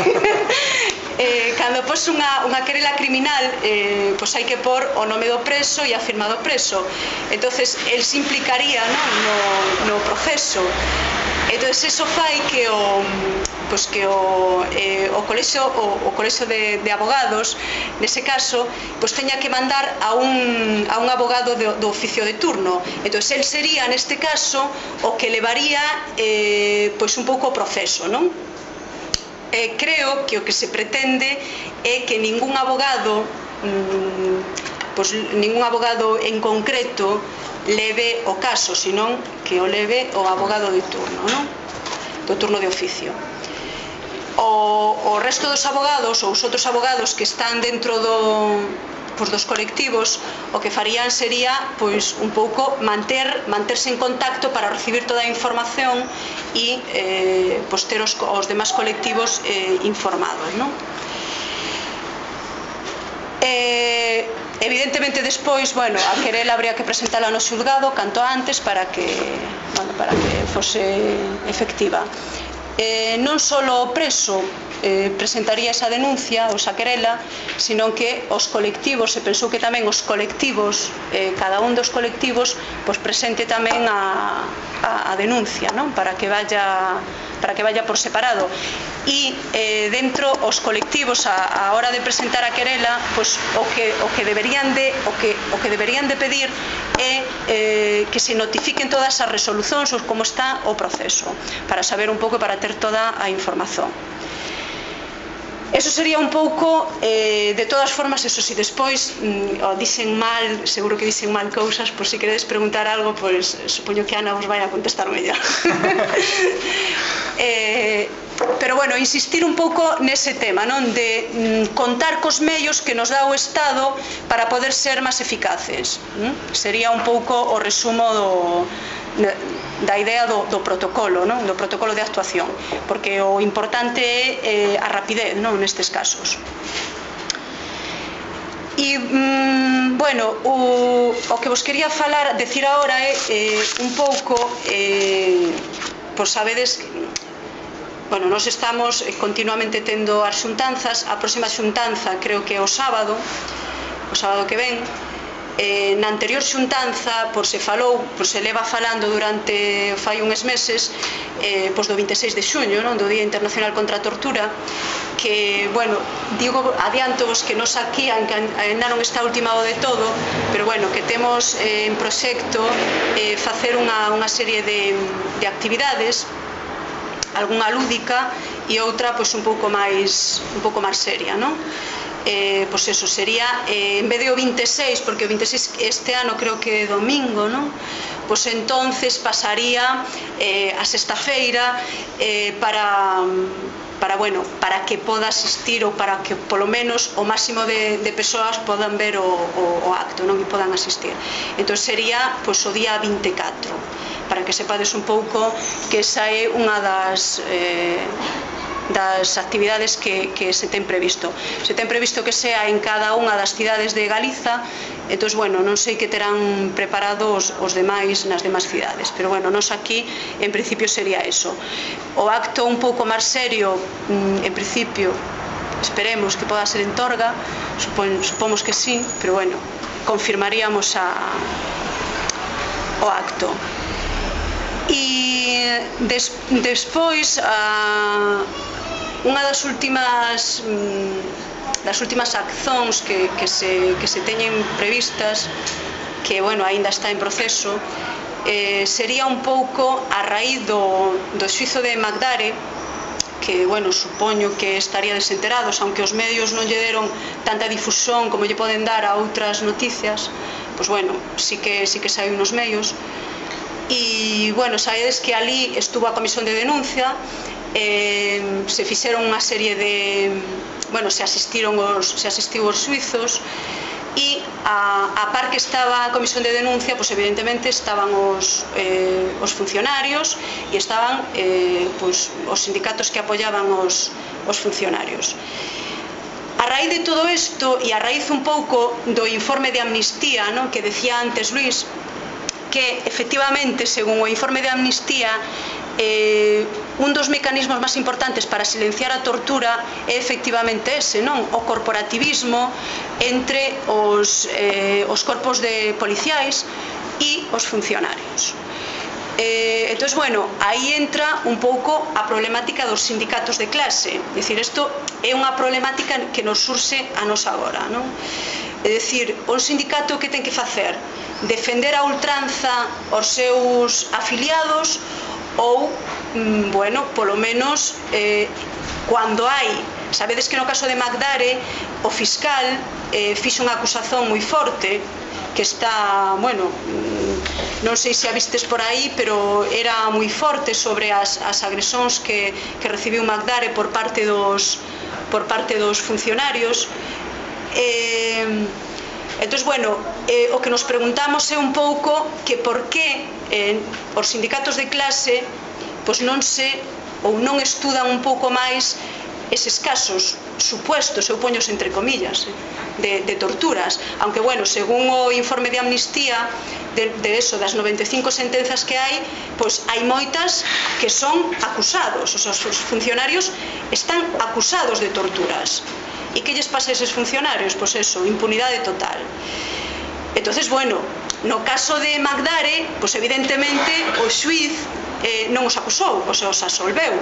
Eh, cando pos unha, unha querela criminal, eh, pois hai que pôr o nome do preso e a firma do preso. Entonces, el se implicaría, non, no, no proceso. Entonces, eso fai que o, pois que o, eh, o colexio, o, o colexio de, de abogados, nese caso, pois teña que mandar a un, a un abogado do, do oficio de turno. Entonces, el sería, neste caso, o que levaría eh, pois un pouco o proceso, non? Eh, creo que o que se pretende é que ningún abogado mmm, pois ningún abogado en concreto leve o caso, senón que o leve o abogado de turno, non? Do turno de oficio. O, o resto dos abogados ou os outros abogados que están dentro do pois dos colectivos, o que farían sería pois un pouco manter manterse en contacto para recibir toda a información e eh, pois ter os, os demás colectivos eh, informados, non? Eh, evidentemente despois, bueno, a querela habría que presentala no xulgado canto antes para que, bueno, para que fose efectiva. Eh, non só o preso eh, presentaría esa denuncia ou esa querela, sino que os colectivos, se pensou que tamén os colectivos, eh, cada un dos colectivos, pois presente tamén a, a, a denuncia, non? Para que vaya para que vaya por separado. E eh, dentro os colectivos a, a hora de presentar a querela, pois o que o que deberían de o que o que deberían de pedir é eh, que se notifiquen todas as resolucións ou como está o proceso, para saber un pouco e para ter toda a información. Eso sería un pouco, eh, de todas formas, eso si despois mm, o dicen mal, seguro que dicen mal cousas, por si queredes preguntar algo, pois supoño que Ana vos vai a contestar mellor. eh, pero bueno, insistir un pouco nese tema, non? De mm, contar cos medios que nos dá o Estado para poder ser máis eficaces. ¿Mm? Sería un pouco o resumo do da idea do, do protocolo, non? Do protocolo de actuación, porque o importante é eh, a rapidez, non? Nestes casos. E, mm, bueno, o, o que vos quería falar, decir agora é eh, un pouco, eh, pois sabedes, bueno, nós estamos continuamente tendo as xuntanzas, a próxima xuntanza creo que é o sábado, o sábado que ven. Eh, na anterior xuntanza, por se falou, por se leva falando durante fai uns meses, eh, pois do vinte e seis de xuño, non? Do Día Internacional contra a Tortura, que, bueno, digo, adiantovos que nos aquí ainda non está ultimado de todo, pero bueno, que temos eh, en proxecto eh, facer unha, unha serie de, de actividades, algunha lúdica e outra pois un pouco máis un pouco máis seria, non? Eh, pois eso sería, eh, en vez de o vinte e seis, porque o vinte e seis este ano creo que é domingo, non? Pois entonces pasaría eh, a sexta-feira eh, para para, bueno, para que poda asistir ou para que polo menos o máximo de, de persoas podan ver o, o, o acto, non? E podan asistir. Entón sería pois o día vinte e catro, para que sepades un pouco que esa é unha das eh, das actividades que, que se ten previsto. Se ten previsto que sea en cada unha das cidades de Galiza, entón, bueno, non sei que terán preparados os demais nas demais cidades, pero bueno, nos aquí en principio sería eso. O acto un pouco máis serio, en principio, esperemos que poda ser en Torga, supon, supomos que sí, pero bueno, confirmaríamos a, o acto. E des, despois a, unha das últimas das últimas accións que, que, se, que se teñen previstas, que bueno, aínda está en proceso, eh, sería un pouco a raíz do, do xuízo de Magdare, que, bueno, supoño que estaría desenterados, aunque os medios non lle deron tanta difusión como lle poden dar a outras noticias, pois bueno, sí que, sí que saiu nos medios. E, bueno, sabedes que ali estuvo a comisión de denuncia, eh, se fixeron unha serie de, bueno, se asistiron os, se asistiu os suizos, e a, a par que estaba a comisión de denuncia, pois evidentemente estaban os, eh, os funcionarios e estaban eh, pois, os sindicatos que apoyaban os, os funcionarios. A raíz de todo isto, e a raíz un pouco do informe de Amnistía, non? Que decía antes Luís, que efectivamente, según o informe de Amnistía, eh, un dos mecanismos máis importantes para silenciar a tortura é efectivamente ese, non? O corporativismo entre os, eh, os corpos de policiais e os funcionarios. Eh, entón, bueno, aí entra un pouco a problemática dos sindicatos de clase. É dicir, isto é unha problemática que nos surxe a nos agora, non? É dicir, un sindicato que ten que facer? Defender a ultranza os seus afiliados ou, bueno, polo menos eh, cando hai, sabedes que no caso de Magdare o fiscal eh, fixo unha acusación moi forte que está, bueno, non sei se a vistes por aí, pero era moi forte sobre as, as agresóns que, que recibiu Magdare por parte dos por parte dos funcionarios. eh, entón, bueno, eh, o que nos preguntamos é un pouco que por que eh, os sindicatos de clase pois non se ou non estudan un pouco máis eses casos, supuestos, eu poños entre comillas, de, de torturas, aunque bueno, según o informe de Amnistía de, de eso, das noventa e cinco sentenzas que hai, pois hai moitas que son acusados, os, os funcionarios están acusados de torturas. E que lles pasa a eses funcionarios? Pois eso, impunidade total. Entonces, bueno, no caso de Magdare, pois evidentemente o xuíz eh, non os acusou, pois os absolveu,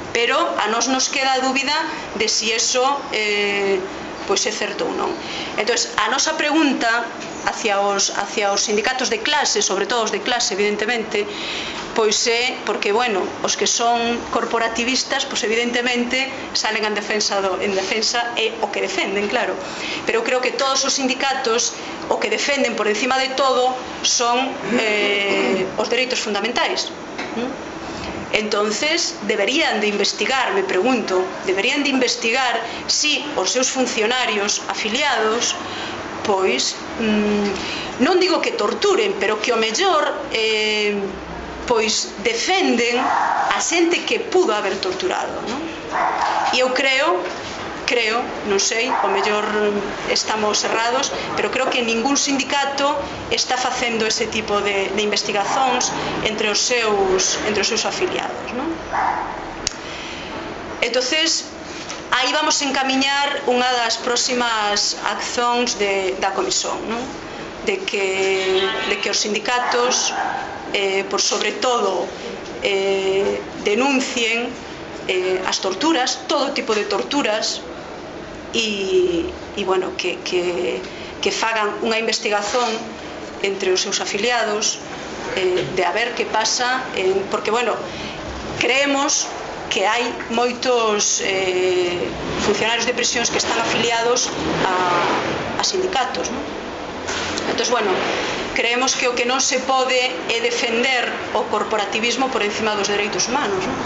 pero a nós nos queda a dúbida de si eso eh, pois é certo ou non. Entón, a nosa pregunta hacia os, hacia os sindicatos de clase, sobre todo os de clase, evidentemente, pois é, porque, bueno, os que son corporativistas, pois evidentemente salen en defensa, do, en defensa é o que defenden, claro, pero eu creo que todos os sindicatos o que defenden por encima de todo son eh, os dereitos fundamentais. ¿Mm? Entonces, deberían de investigar, me pregunto, deberían de investigar si os seus funcionarios afiliados, pois, mmm, non digo que torturen, pero que o mellor, eh, pois, defenden a xente que pudo haber torturado, non? E eu creo, creo, non sei, o mellor estamos errados, pero creo que ningún sindicato está facendo ese tipo de, de investigacións entre os seus, entre os seus afiliados, non? Entonces, aí vamos encamiñar unha das próximas accións de, da comisión, non? De que, de que os sindicatos, eh, por sobre todo, eh, denuncien eh, as torturas, todo tipo de torturas, e, e bueno, que, que, que fagan unha investigación entre os seus afiliados eh, de a ver que pasa, eh, porque, bueno, creemos que hai moitos eh, funcionarios de prisións que están afiliados a, a sindicatos, non? Entón, bueno, creemos que o que non se pode é defender o corporativismo por encima dos dereitos humanos, non?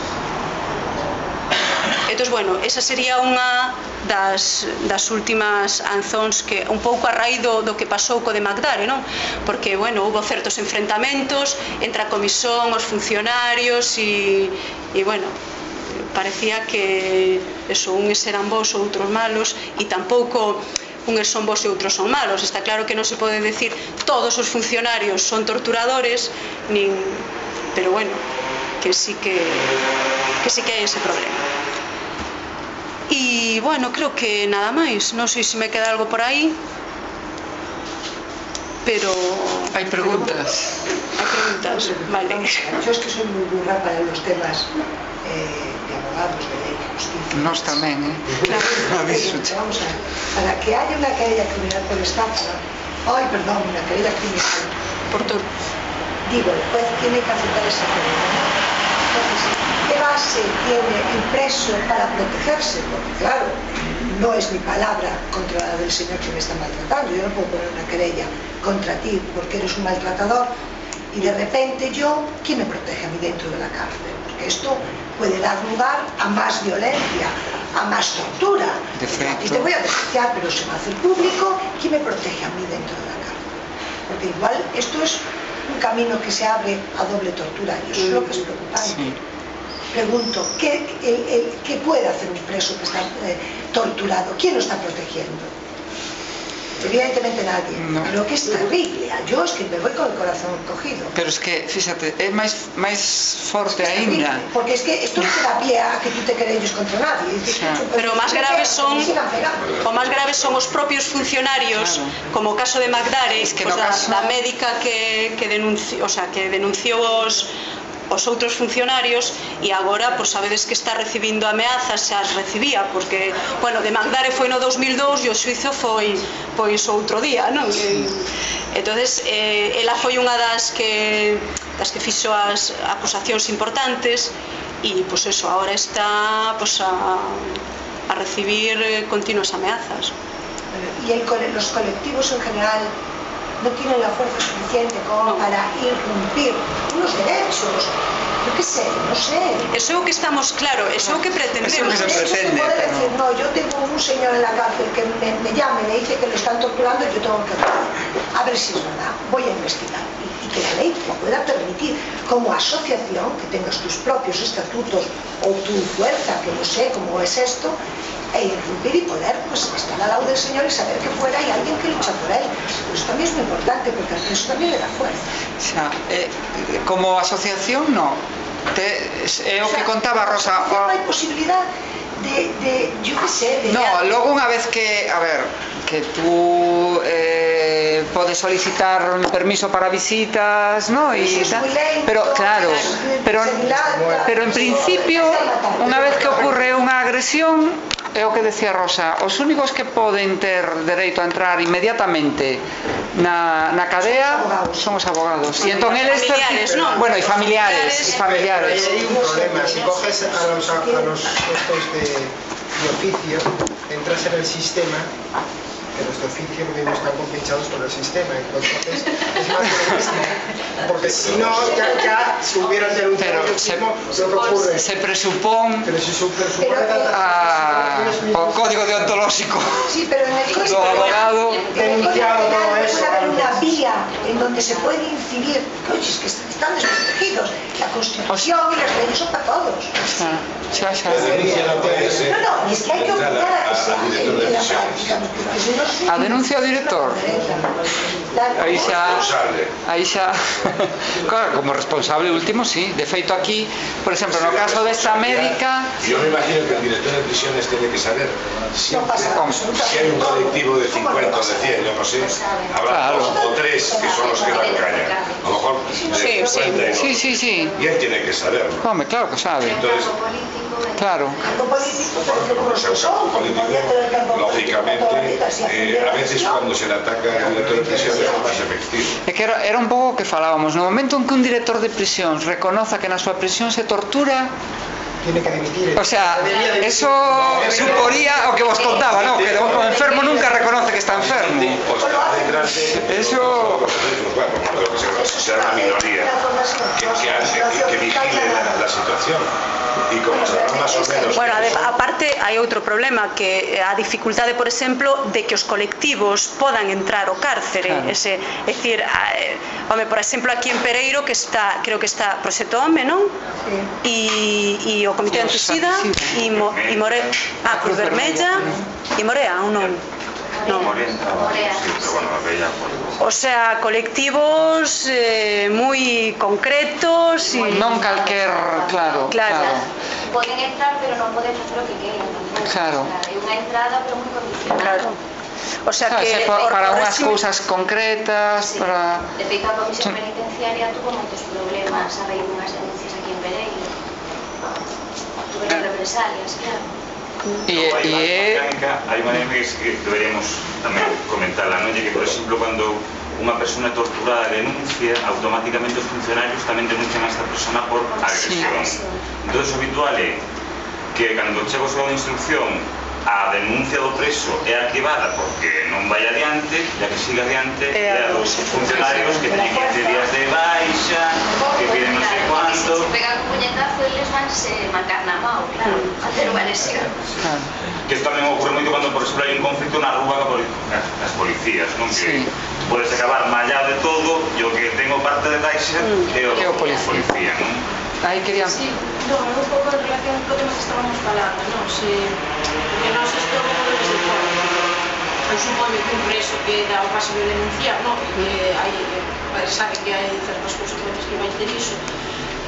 Entón, bueno, esa sería unha das, das últimas anzóns que un pouco a raíz do, do que pasou co de Magdare, non? Porque, bueno, houve certos enfrentamentos entre a comisión, os funcionarios e, e bueno, parecía que eso, uns eran bons ou outros malos, e tampouco uns son bons e outros son malos. Está claro que non se pode decir todos os funcionarios son torturadores, nin, pero bueno, que sí que que sí que hai ese problema. E, bueno, creo que nada máis. Non sei se me queda algo por aí, pero... Hai preguntas. Hai preguntas, vale. Yo es que soy muy burra para los temas eh, de abogados, de ley, de justicia. Nos tamén, eh? Claro. Vamos a ver, para que haya una querella criminal por estafa, ay, perdón, una querella criminal Por todo. digo, el juez tiene que aceptar esa querella. Entonces, ¿qué base tiene el preso para protegerse? Porque claro, no es mi palabra contra la del señor que me está maltratando. Yo no puedo poner una querella contra ti porque eres un maltratador y de repente yo, ¿quién me protege a mí dentro de la cárcel? Porque esto puede dar lugar a más violencia, a más tortura. Y te voy a denunciar, pero se va a hacer público. ¿Quién me protege a mí dentro de la cárcel? Porque igual esto es un camino que se abre a doble tortura y eso es lo que es preocupante. Sí. Pregunto, ¿qué, el, el, ¿qué puede hacer un preso que está eh, torturado? ¿Quién lo está protegiendo? Evidentemente nadie, no. Pero que es terrible. Yo es que me voy con el corazón cogido. Pero es que, fíjate, é máis, máis forte aínda. Porque es que esto no te da pie a que tú te querelles contra nadie. Es sí. Pero o máis graves son o máis graves son os propios funcionarios, claro. Como o caso de Magdare, es que pues, no da, caso... da médica que, que denunciou, o sea, que denunciou os os outros funcionarios e agora, pois sabedes que está recibindo ameazas, xa as recibía, porque, bueno, de Magdare foi no dos mil dous e o suizo foi, pois, outro día, non? Entonces, eh, ela foi unha das que das que fixo as acusacións importantes e, pois, eso, agora está, pois, a, a recibir continuas ameazas. E el, los colectivos en general no tienen la fuerza suficiente como no. Para irrumpir unos derechos, yo qué sé, no sé. Eso é o que estamos, claro, eso é o que pretendemos. Eso que se pretende. Puede decir, no, yo tengo un señor en la cárcel que me, me llama y me dice que lo están torturando y yo tengo que actuar. A ver si es verdad, voy a investigar. Y, y que la ley lo pueda permitir como asociación, que tengas tus propios estatutos o tu fuerza, que no sé cómo es esto, e irrumpir y poder pues estar al lado del Señor y saber que fuera hay alguien que lucha por él. Eso también es muy importante, porque eso también le da fuerza. O sea, eh, como asociación, no. Te, é o, o sea, que contaba Rosa. Non hai posibilidad de, de yo que sé, de... No, logo unha vez que, a ver, que tú eh, podes solicitar un permiso para visitas, ¿no? Y tal, pero claro, pero, pero en principio, unha vez que ocurre unha agresión, é o que decía Rosa, os únicos que poden ter dereito a entrar inmediatamente na, na cadea son os abogados. E entón eles, familiares, ¿no? Bueno, e familiares, e familiares. Hay un problema, si coges a los, a los puestos de, de oficio, entras en el sistema, pero los de oficio no están compensados por el sistema, entonces es más de lo mismo, porque si no, ya, ya si hubieran denunciado el mismo, lo que ocurre. Se presupón pero si se presupone a, o código deontológico sí, pero en el do abogado denunciado todo eso. Puede haber una vía en donde se puede incidir, oye, es que están desprotegidos, la Constitución y las leyes son para todos. Xa, xa. No, no, es que hay que obligar a que se haga en la práctica, porque si no... A denuncia ao director. Aí xa, aí xa, claro, como responsable último, sí. De feito aquí, por exemplo, no caso desta médica, yo me imagino que el director de prisiones tiene que saber si, si hay un colectivo de cincuenta o de cien, yo no sé, habrá claro. dos o tres que son los que dan caña, a lo mejor de sí, cincuenta y sí, no. sí, sí. Y él tiene que saberlo. Hombre, claro que sabe. Entonces, claro. como sea un campo político, lógicamente, eh, a veces cuando se le ataca al director de prisiones es más efectivo. É que era, era un pouco o que falábamos. No momento en que un director de prisións reconoza que na súa prisión se tortura, tiene que dimitir. O sea, eso suporía o que vos contaba, ¿no? Que o enfermo nunca reconoce que está enfermo. Eso... será una minoría que, que, hace, que vigile la, la situación. Y como sabrán más o menos... Bueno, aparte hai outro problema, que a dificultade, por exemplo, de que os colectivos podan entrar ao cárcere. Claro. Ese, é dicir, eh, home, por exemplo, aquí en Pereiro, que está, creo que está Proxecto Home, non? E o Comité Antisida e Mo, More, ah, Cruz Vermella e Morea, ou non? No. O sea, colectivos eh, moi concretos e... Non calquer, claro, claro, claro. Poden entrar, pero non poden facer o que queiran. Claro. É unha entrada, pero moi condicionada. Claro. O sea claro, que... Para, para unhas régimen... cousas concretas, sí. Para... De feito, a Comisión Penitenciaria tuvo moitos problemas a raíz dunhas denuncias aquí en Pereiro. Tuveron represalias, claro. E, e... hai unha dinámica que deberíamos tamén comentarla, non? Que, por exemplo, cando unha persona torturada denuncia, automáticamente os funcionarios tamén denuncian a esta persona por agresión. Sí. Entón, o habitual é que cando chega o seu de instrucción, a denuncia do preso é arquivada porque non vai adiante, e a que siga adiante é a dos funcionarios que teñen quince días de baixa, que piden non sei cuánto. Se pegan un puñetazo, eles van se marcar na mão, claro, facer unha lesión. Que isto tamén ocorre moito cando, por exemplo, hai un conflito na rúa as policías, non? Que podes acabar mallado de todo e o que ten o parte de baixa é o policía, non? Aí querían... Sí, no, un pouco en relación co tema que estábamos falando, non? Se, porque nós isto como desde fora, eu supoño que un preso que dá o paso de denunciar, non? E que hai, sabe que hai certas consecuencias que vai ter iso,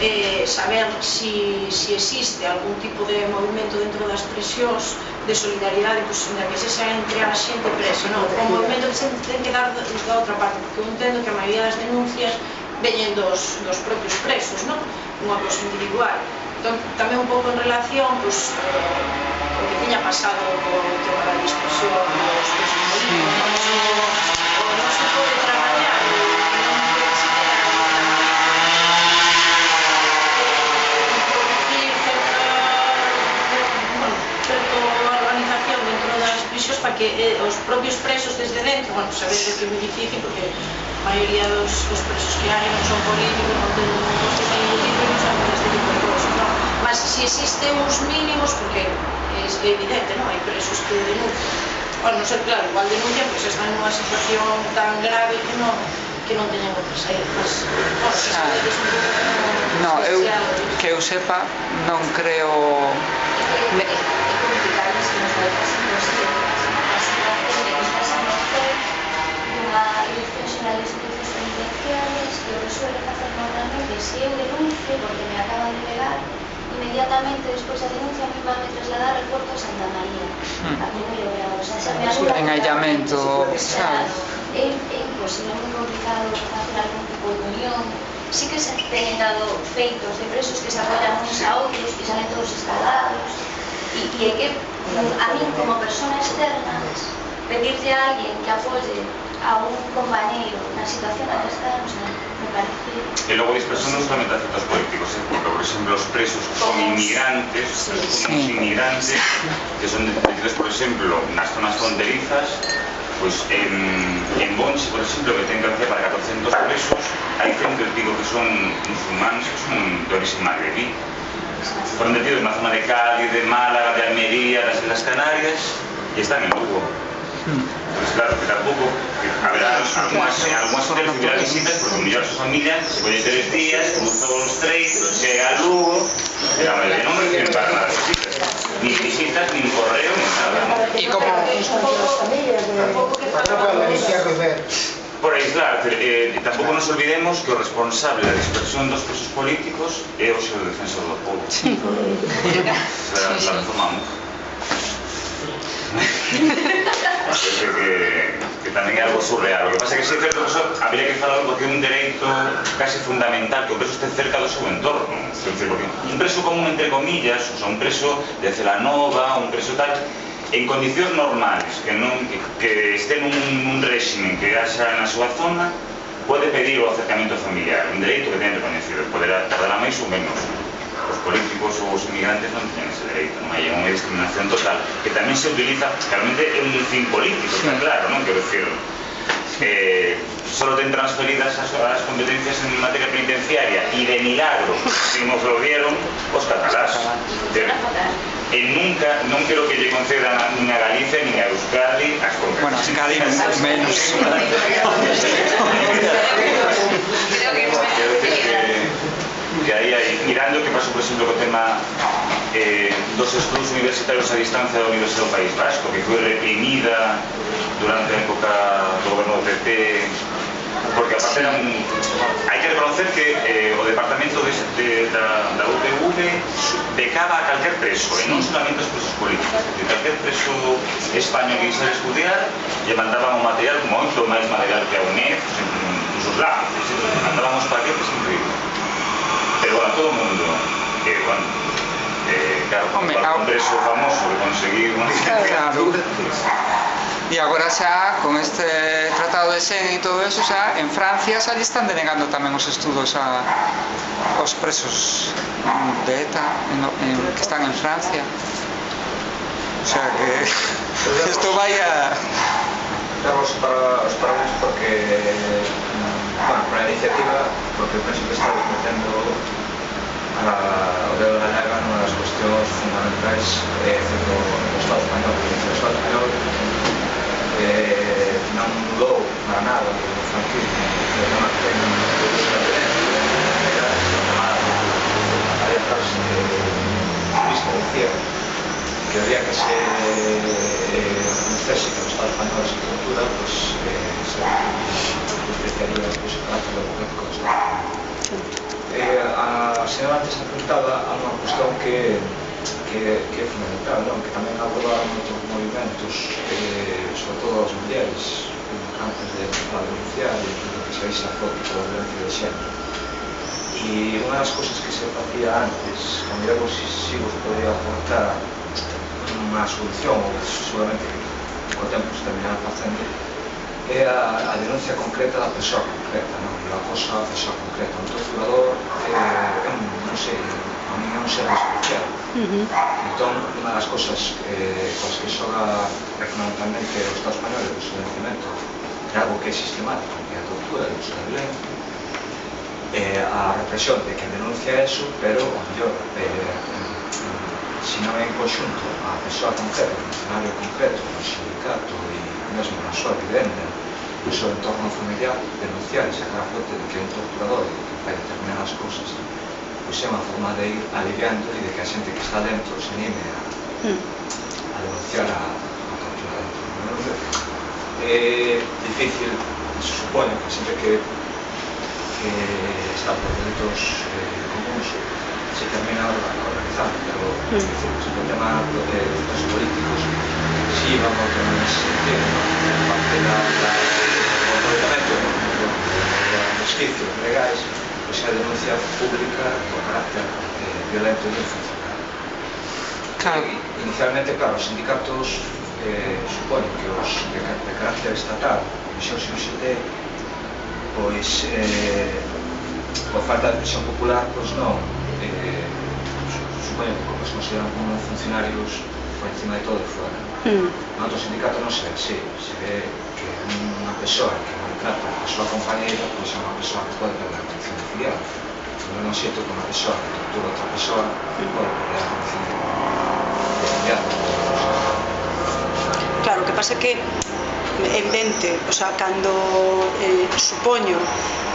eh, saber si, si existe algún tipo de movimento dentro das prisións de solidaridade, pues, na que se xa entre a xente presa, non? O movimento que se ten que dar da outra parte, porque eu entendo que a maioría das denuncias veñen dos, dos propios presos, non? Unha cosa individual. Entón, tamén un pouco en relación, pues, eh, o que tiña pasado co tema da dispersión dos presos políticos, o non se pode traballar, non se introducir certa organización dentro das prisións para que eh, os propios presos desde dentro, bueno, sabedes que é moi difícil porque a maioría dos, dos presos que hai non son políticos, non ten un constitución político, non saben este tipo de cosas, non? Mas se existen uns mínimos, porque é evidente, non? Hai presos que denuncian. Bueno, non sei, claro, igual denuncian, pois están nunha situación tan grave que non que non teñen outra saída. Mas, bueno, se sabedes un pouco... No, eu, que eu sepa, non creo... É complicado cousas que nos vai pasando sempre. A situación de que estás a merced dunha Dirección Xeral de Servicios Penitenciarios que o que suele facer normalmente se eu denuncio porque me acaban de pegar, inmediatamente despois da denuncia a mí van me trasladar ao Porto de Santa María a primeiro grado, o sea, se me anula en aillamento, sabes? é, é imposible, é moi complicado facer algún tipo de unión. Sí que se teñen dado feitos de presos que se apoyan uns a outros, que salen todos escalados e, e é que a mí como persona externa pedirle a alguén que apoye a un compañeiro na situación na que está, o sea, me parece... E logo dispersión non solamente a efectos políticos, eh? Porque, por exemplo, os presos que son inmigrantes, os presos como inmigrantes, que son detenidos, por exemplo, nas zonas fronterizas, pois en, en Bonchi, por exemplo, que ten capacidade para catorcentos presos, hai cento e pico que son musulmanes, que son de origen magrebí. Foron detidos na zona de Cádiz, de Málaga, de Almería, das Islas Canarias, e están en Lugo. Pues claro, que tampouco que haberá algunhas algunhas hoteles que terán visitas porque mellor a súa familia se colle tres días, como todos os treitos, chega a Lugo e a maioría non reciben para nada visitas, ni visitas, ni correo, ni nada, ¿no? E como... Por aislar, eh, tampouco nos olvidemos que o responsable da dispersión dos presos políticos é o seu defensor do povo. Sí. La, la reformamos. que, que tamén é algo surreal. O que pasa é que se é certo que eso habría que falar porque é un dereito casi fundamental que o preso este cerca do seu entorno. Decir, porque un preso común, entre comillas, o sea, un preso de Celanova, un preso tal, en condicións normales, que, non, que, que este nun, un régimen que haxa na súa zona, pode pedir o acercamento familiar, un dereito que ten reconhecido, poderá tardar máis ou menos. Os políticos ou os inmigrantes non teñen ese dereito, non hai unha discriminación total, que tamén se utiliza, claramente é un fin político, está claro, non? Quero dicir, eh, solo ten transferidas as, as competencias en materia penitenciaria e de milagro, se nos lo dieron, os catalás. E nunca, non quero que lle concedan nin a Galicia nin a Euskadi as competencias. Bueno, Euskadi menos. Creo que que aí hai, mirando que pasou, por exemplo, co tema eh, dos estudos universitarios a distancia da Universidade do País Vasco, que foi reprimida durante a época do goberno do P P, porque aparte era un... hai que reconocer que eh, o departamento de, de, da, da U P V becaba a calquer preso, e non solamente os presos políticos, que calquer preso español que quisera estudiar lle mandaban un material moito máis material que a U N E F, incluso os lápices, mandábamos paquetes increíbles. Pero bueno, todo o mundo, eh, bueno, eh, claro, Hombre, un congreso famoso que conseguir unha claro. E agora xa, con este tratado de Schengen e todo eso, xa, en Francia xa lle están denegando tamén os estudos a, aos presos de ETA en, en, que están en Francia. O sea que isto vai a... Damos para os parabéns porque, bueno, para a iniciativa, porque penso que está metendo o dedo na llaga nunha das cuestións fundamentais eh, do Estado español. O Estado español eh, non mudou para nada o franquismo, o tema que ten era alertas de turismo decía que había que se conocese que o Estado español esa cultura, pues se despreciaría o carácter democrático do Estado. Eh, a señora antes apuntaba a unha cuestión que, que, que é fundamental, non? Que tamén aborda moitos movimentos, eh, sobre todo as mulleres, antes de empezar a denunciar e que se veisa a foto da violencia de xénero. E unha das cousas que se facía antes, que miremos se si vos podría aportar unha solución, ou seguramente que co tempo se terminará facendo, é a, a denuncia concreta da persoa concreta, non? A cosa da persoa concreta. Un torturador é un, non sei, a mí é un ser especial. Uh-huh. Entón, unha das cosas eh, coas que xoga fundamentalmente o Estado español é o silenciamento de algo que é sistemático, que é a tortura e o uso da violencia, eh, a represión de quen denuncia eso, pero, o mellor, eh, se non é en conxunto a persoa concreta, o funcionario concreto, o sindicato e mesmo na súa vivenda, no seu entorno familiar, denunciar e sacar a flote de que é un torturador e que fai determinadas cousas, pois é unha forma de ir aliviando e de que a xente que está dentro se anime a, mm. a a denunciar a, a tortura dentro. É difícil, se supone que sempre que, que está por delitos eh, comuns se termina organizando, pero mm. es decir, se el tema de los políticos sí van a tener ese sentido, ¿no? Parte da, da, do aproveitamento dos resquicios legais, pois a denuncia pública do carácter eh, violento e funcional. Claro. E, inicialmente, claro, os sindicatos eh, suponen que os de, de carácter estatal, Comisión C X T, pois eh, por falta de presión popular, pois non eh, supoño que como se consideran como funcionarios por encima de todo e fora. Mm. No outro sindicato non se ve así, se ve que unha persoa que maltrata a súa compañeira pois é unha persoa que pode perder a condición de filial. Non é xeito que unha persoa que tortura a outra persoa pode perder a condición de filial. Claro, o que pasa é que é evidente, o sea, cando eh, supoño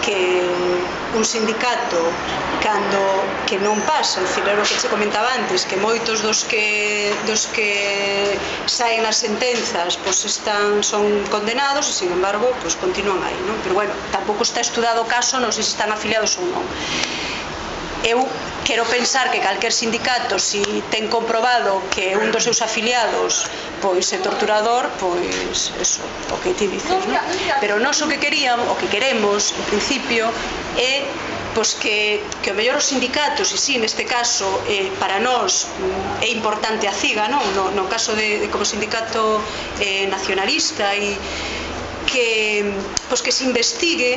que un sindicato cando que non pasa, é dicir, era o que che comentaba antes, que moitos dos que dos que saen as sentenzas pois están son condenados e, sin embargo, pois continúan aí, non? Pero bueno, tampouco está estudado o caso, non sei se están afiliados ou non. Eu quero pensar que calquer sindicato, si ten comprobado que un dos seus afiliados pois é torturador, pois eso, o que ti dices, non? Pero nós o que queríamos, o que queremos, en principio, é pois que, que o mellor os sindicatos, e si, neste caso, eh, para nós é importante a CIGA, non? No, no caso de, de como sindicato eh, nacionalista, e que, pois que se investigue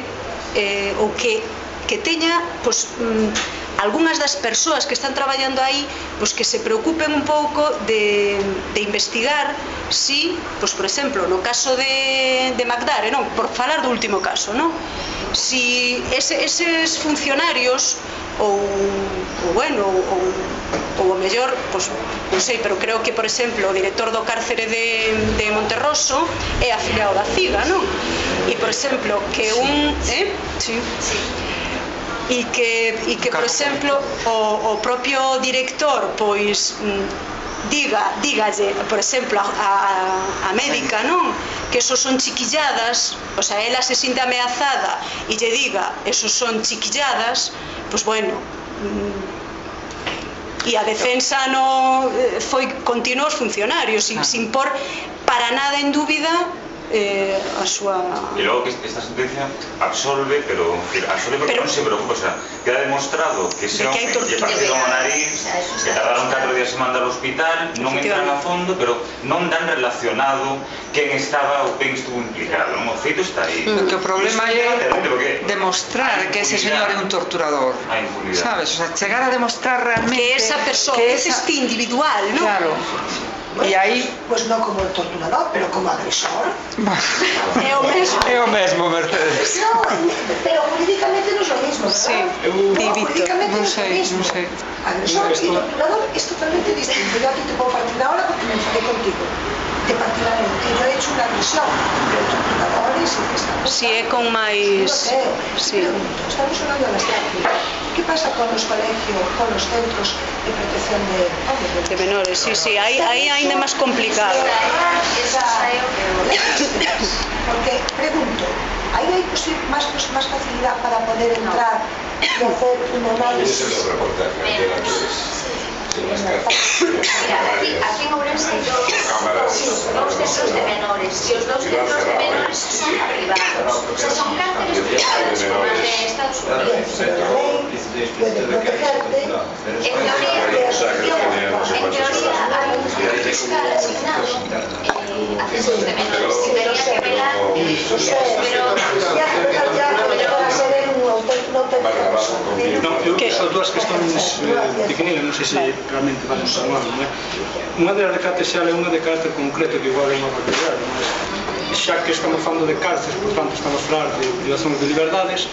eh, ou que, que teña pois, mm, algunhas das persoas que están traballando aí pois que se preocupen un pouco de, de investigar si, pois, por exemplo, no caso de, de Magdare, non? Por falar do último caso, non? Si ese, eses funcionarios ou, ou bueno, ou, ou o mellor, pois, non sei, pero creo que, por exemplo, o director do cárcere de, de Monterroso é afiliado da CIGA, non? E, por exemplo, que un... Eh? Sí. Sí. E que, e que, por exemplo, o, o propio director pois diga, dígalle, por exemplo, a, a, a médica, non? Que esos son chiquilladas, o sea, ela se sinte ameazada e lle diga, esos son chiquilladas, pois bueno, e a defensa no foi continuo os funcionarios, sin, sin por para nada en dúbida Eh, a súa... E logo que esta sentencia absolve, pero absolve porque pero... non se preocupa, o sea, queda demostrado que ese hombre lle partiron o nariz, que tardaron catro días en mandar ao hospital, non entran a fondo, pero non dan relacionado quen estaba ou quen estuvo implicado, non? O feito está aí. Mm. Que o problema é demostrar que ese señor é un torturador, sabes? O sea, chegar a demostrar realmente que esa persoa, que ese este individual, non? Claro. Bueno, e aí, pois non como torturador, pero como agresor. É o mesmo. É o mesmo, Mercedes. No, pero jurídicamente non é o mismo, ¿verdad? Sí, no, jurídicamente non sei, é o mismo. Non sei. Agresor e torturador é totalmente distinto. Yo aquí te puedo partir ahora porque me enfadé contigo. Te partirá en que yo he hecho una agresión, pero torturadores y que estamos... Si é con máis... Sí. Estamos hablando de las cárceles. ¿Qué pasa con los colegios, con los centros de protección de, oh, de menores? Sí, sí, ahí, ahí ainda é máis complicado. Porque, pregunto, ¿ahí hay más, más facilidad para poder entrar y hacer un análisis? Ese es el reportaje de la que Mira, aquí, aquí en Ourense hai dous centros de menores e os dous centros de menores son privados, o sea, son cárceles privadas como as de Estados Unidos. Puede protegerte. En teoría, en teoría hai un fiscal asignado a centros de menores que tenía que velar, pero Non, eu só dúas questões pequeninas, non sei se realmente vamos a falar, non é? Unha delas de carácter xeral é unha de carácter concreto que igual é unha barbaridade, mas xa que estamos falando de cárceles, por tanto estamos a falar de privacións de liberdades,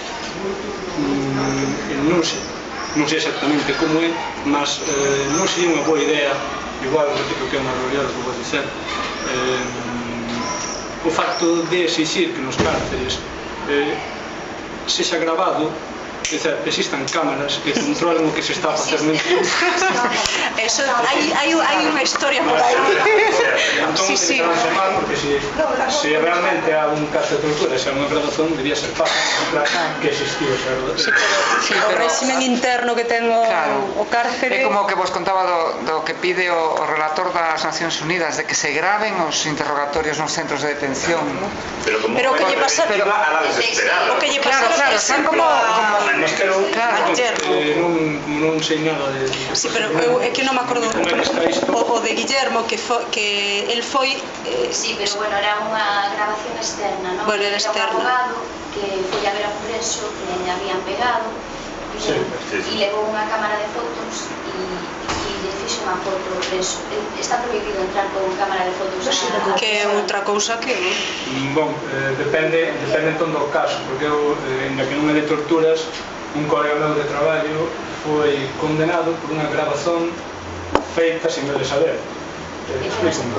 non sei, non sei exactamente como é, mas eh, non sería unha boa idea, igual repito que é unha barbaridade que vou dizer, eh, o facto de exigir que nos cárceles eh, sexa grabado dizer, existan cámaras que controlen o que se está a facer no internet. Eso, hai, hai, hai unha historia por aí. Entón, Sí, sí. porque se, se realmente há un caso de tortura, se há unha grabación, debía ser fácil que existió esa grabación. Sí, o régimen interno que ten o, o cárcere. É como que vos contaba do, do que pide o, o relator das Nacións Unidas, de que se graven os interrogatorios nos centros de detención. Pero como Pero que lle pasa pero a la desesperada. o que lle pasa Claro, claro, son como... Mas que non, eh, non, non sei nada de... Sí, pero eu, é que non me acordo o, o de Guillermo que, fo, que el foi eh, Sí, pero bueno, era unha grabación externa, non? Bueno, era Era externa. un abogado que foi a ver a un preso que le habían pegado Sí, sí, e sí. levou unha cámara de fotos e, e lle fixo unha foto ao preso. Está prohibido entrar con cámara de fotos a... que é outra cousa que Bon, eh, depende, depende entón do caso, porque eu, eh, ainda que non é de torturas, un colega meu de traballo foi condenado por unha grabación feita sin ele saber. Eh, explícame.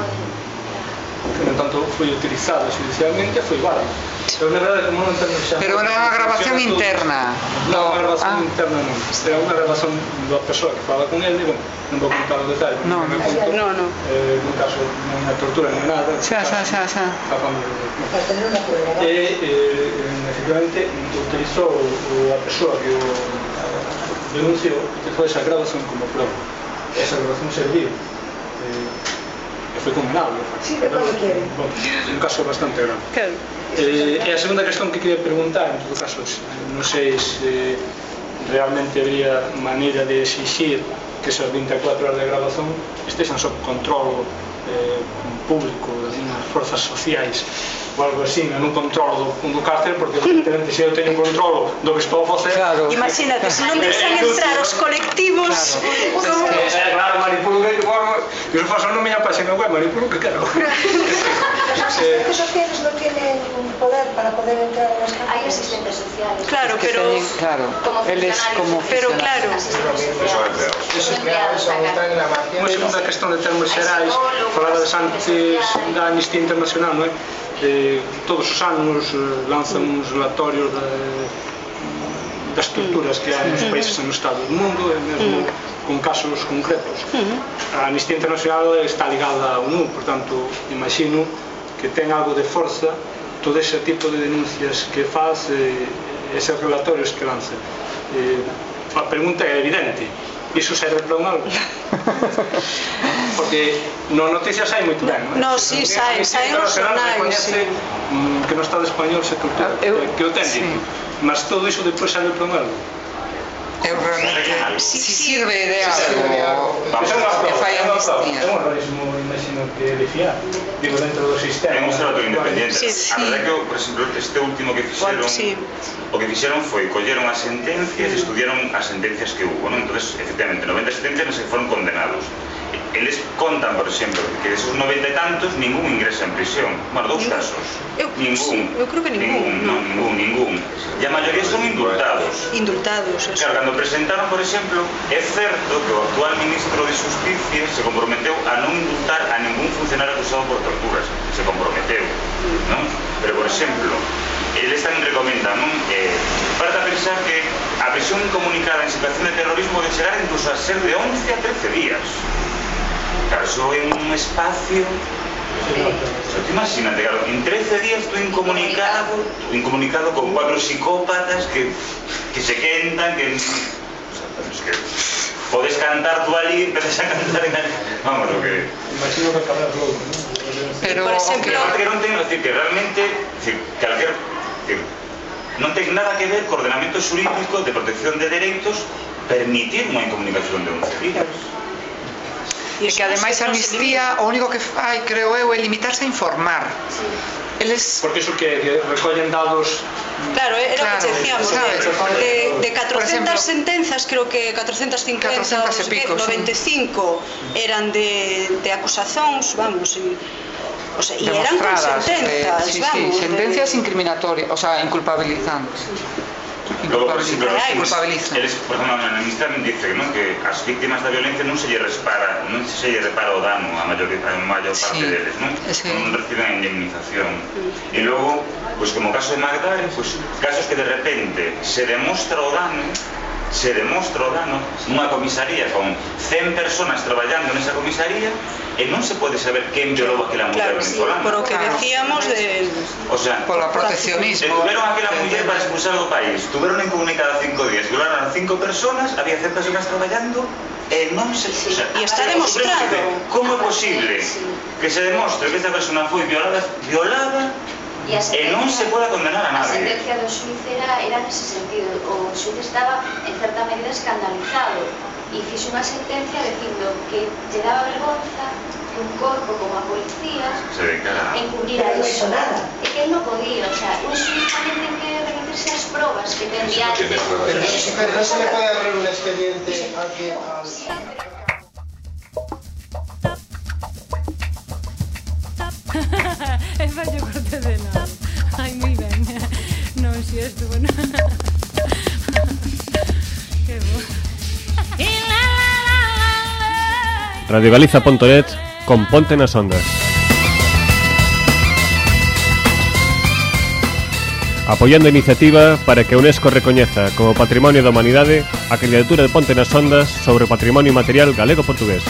Que, no tanto, foi utilizada judicialmente e foi válido. Pero na verdade, como non temos xa... Pero era unha grabación interna. Non, unha grabación interna non. Era unha grabación da persoa que fala con ele, bon, non vou contar o detalle. No, no, no, no. Eh, nun caso, non é tortura, non é nada. Xa, xa, xa, xa. Para tener una prueba. E, eh, efectivamente, utilizou a persoa que o denunciou, utilizou esa grabación como prova. Esa grabación serviu. Eh, e foi condenado. Sí, de cuando quiere. Bon, un caso bastante grande. Claro. Eh, e a segunda cuestión que queria preguntar, en todo caso, non sei se realmente habría maneira de exigir que esas vinte e catro horas de grabación estexan sob control eh, público das forzas sociais ou algo así, non controlo do, do cárcel, porque evidentemente se eu teño un controlo do que estou a facer, Claro. Imagínate, se non deixan entrar os colectivos como... Eh, claro, manipulo que eu se faço non me llama página web, manipulo que quero. Las asistentes sociales no tienen poder para poder entrar en las Hay cárceles. asistentes sociales. Claro, Que pero teñen, claro, Como eles funcionarios. como pero funcionarios. claro, Eso es claro, eso está en la Unha margen. segunda cuestión de termos xerais, falabas antes da Amnistía Internacional, non é? Eh, todos os anos eh, lanzan uns relatorios de, das torturas que hai nos países e nos estados do mundo, e mesmo con casos concretos. A Amnistía Internacional está ligada á ONU, por tanto, imagino que ten algo de forza todo ese tipo de denuncias que faz, eh, eses relatorios que lanza. Eh, a pregunta é evidente: iso serve para un algo? Porque no noticias hai moito ben, non é? No, sí, saen, saen os xornais, recoñece, sí. mm, que no Estado español se tortura, Eu- que o ten, sí. mas todo iso depois serve para un algo. Eu realmente, si sirve de sirve de algo, algo. Iso é unha que prova, fai é unha prova. amnistía. É un organismo, imagino que de fiar, digo, dentro do sistema. É un observatorio independiente. Sí, A sí. verdade é que, por exemplo, este último que fixeron, Sí. o que fixeron foi colleron as sentencias e estudiaron as sentencias que hubo, non? Entonces, efectivamente, noventa sentencias nas que foron condenados. Eles contan, por exemplo, que desos noventa e tantos ningún ingresa en prisión. Bueno, dous Ningún. casos. Eu- Ningún. eu creo que ningún, non, ningún, ningún. E a maioría son indultados. indultados, eso. Claro, cando presentaron, por exemplo, é certo que o actual ministro de Justicia se comprometeu a non indultar a ningún funcionario acusado por torturas. Se comprometeu, non? Pero, por exemplo, eles tamén recomendan, non? Eh, para pensar que a prisión incomunicada en situación de terrorismo debe chegar incluso a ser de once a trece días. Claro, iso é un espacio... Pero tú imagínate, claro, en trece días tú incomunicado, incomunicado con cuatro psicópatas que, que se quentan, que... O sea, es que podes cantar tú ali, empezas a cantar en... Vamos, lo que... Imagino que acabarás loco, non? Pero, Por exemplo, Que, que non ten, decir, que realmente, decir, calquer, decir, non ten nada que ver co ordenamento xurídico de protección de dereitos permitir unha incomunicación de once días. E que ademais a amnistía o único que fai, creo eu, é limitarse a informar. Eles... Porque iso que, que recollen dados... Claro, era Claro, o que decíamos, sabes, de, de, de por catrocentas exemplo, sentenzas, creo que catrocentas cincuenta, catrocentas e pico, sí. noventa e cinco eran de, de acusacións, vamos, e, o sea, e eran con demostradas, sentenzas, eh, sí, vamos. sí, sentencias de... incriminatorias, o sea, inculpabilizantes. Logo, por exemplo, Ai, eles, culpabilizan. eles, por exemplo, na amnistía dicen, non, que as víctimas da violencia non se lle repara, non se lle repara o dano a maior, a maior parte Sí. deles, non? Sí. Non reciben a indemnización. E logo, pois como o caso de Magdalena, pois casos que de repente se demostra o dano, se demostra o dano nunha comisaría con cen personas traballando nesa comisaría e non se pode saber quen violou aquela muller venezolana. Por o que decíamos de... O sea, Polo proteccionismo. Tuvieron aquela muller para expulsar do país, tuvieron incomunicada cinco días, violaron a cinco personas, había cen personas traballando e non se... O sea, E está demostrado. Como é posible que se demostre que esta persona foi violada, violada E, a e non se poda condenar a A nadie? sentencia do xuiz era, era nese sentido. O xuiz estaba, en certa medida, escandalizado e fixo unha sentencia dicindo que lle daba vergonza que un corpo como a policía Se dedicara. encubrira Pero non iso. hizo nada. E que él non podía, o sea, un xuiz tamén ten que remitirse ás probas que ten Eso no diante. tiene pruebas. Pero pero no se le puede abrir un expediente al que... Al... E fallo corte de nada. Ai, moi ben. Non, si estuvo, non. Que bo. radiogaliza punto net con Ponte nas Ondas. Apoiando a iniciativa para que a UNESCO recoñeza como Patrimonio da Humanidade a candidatura de Ponte nas Ondas sobre o patrimonio material galego-portugués.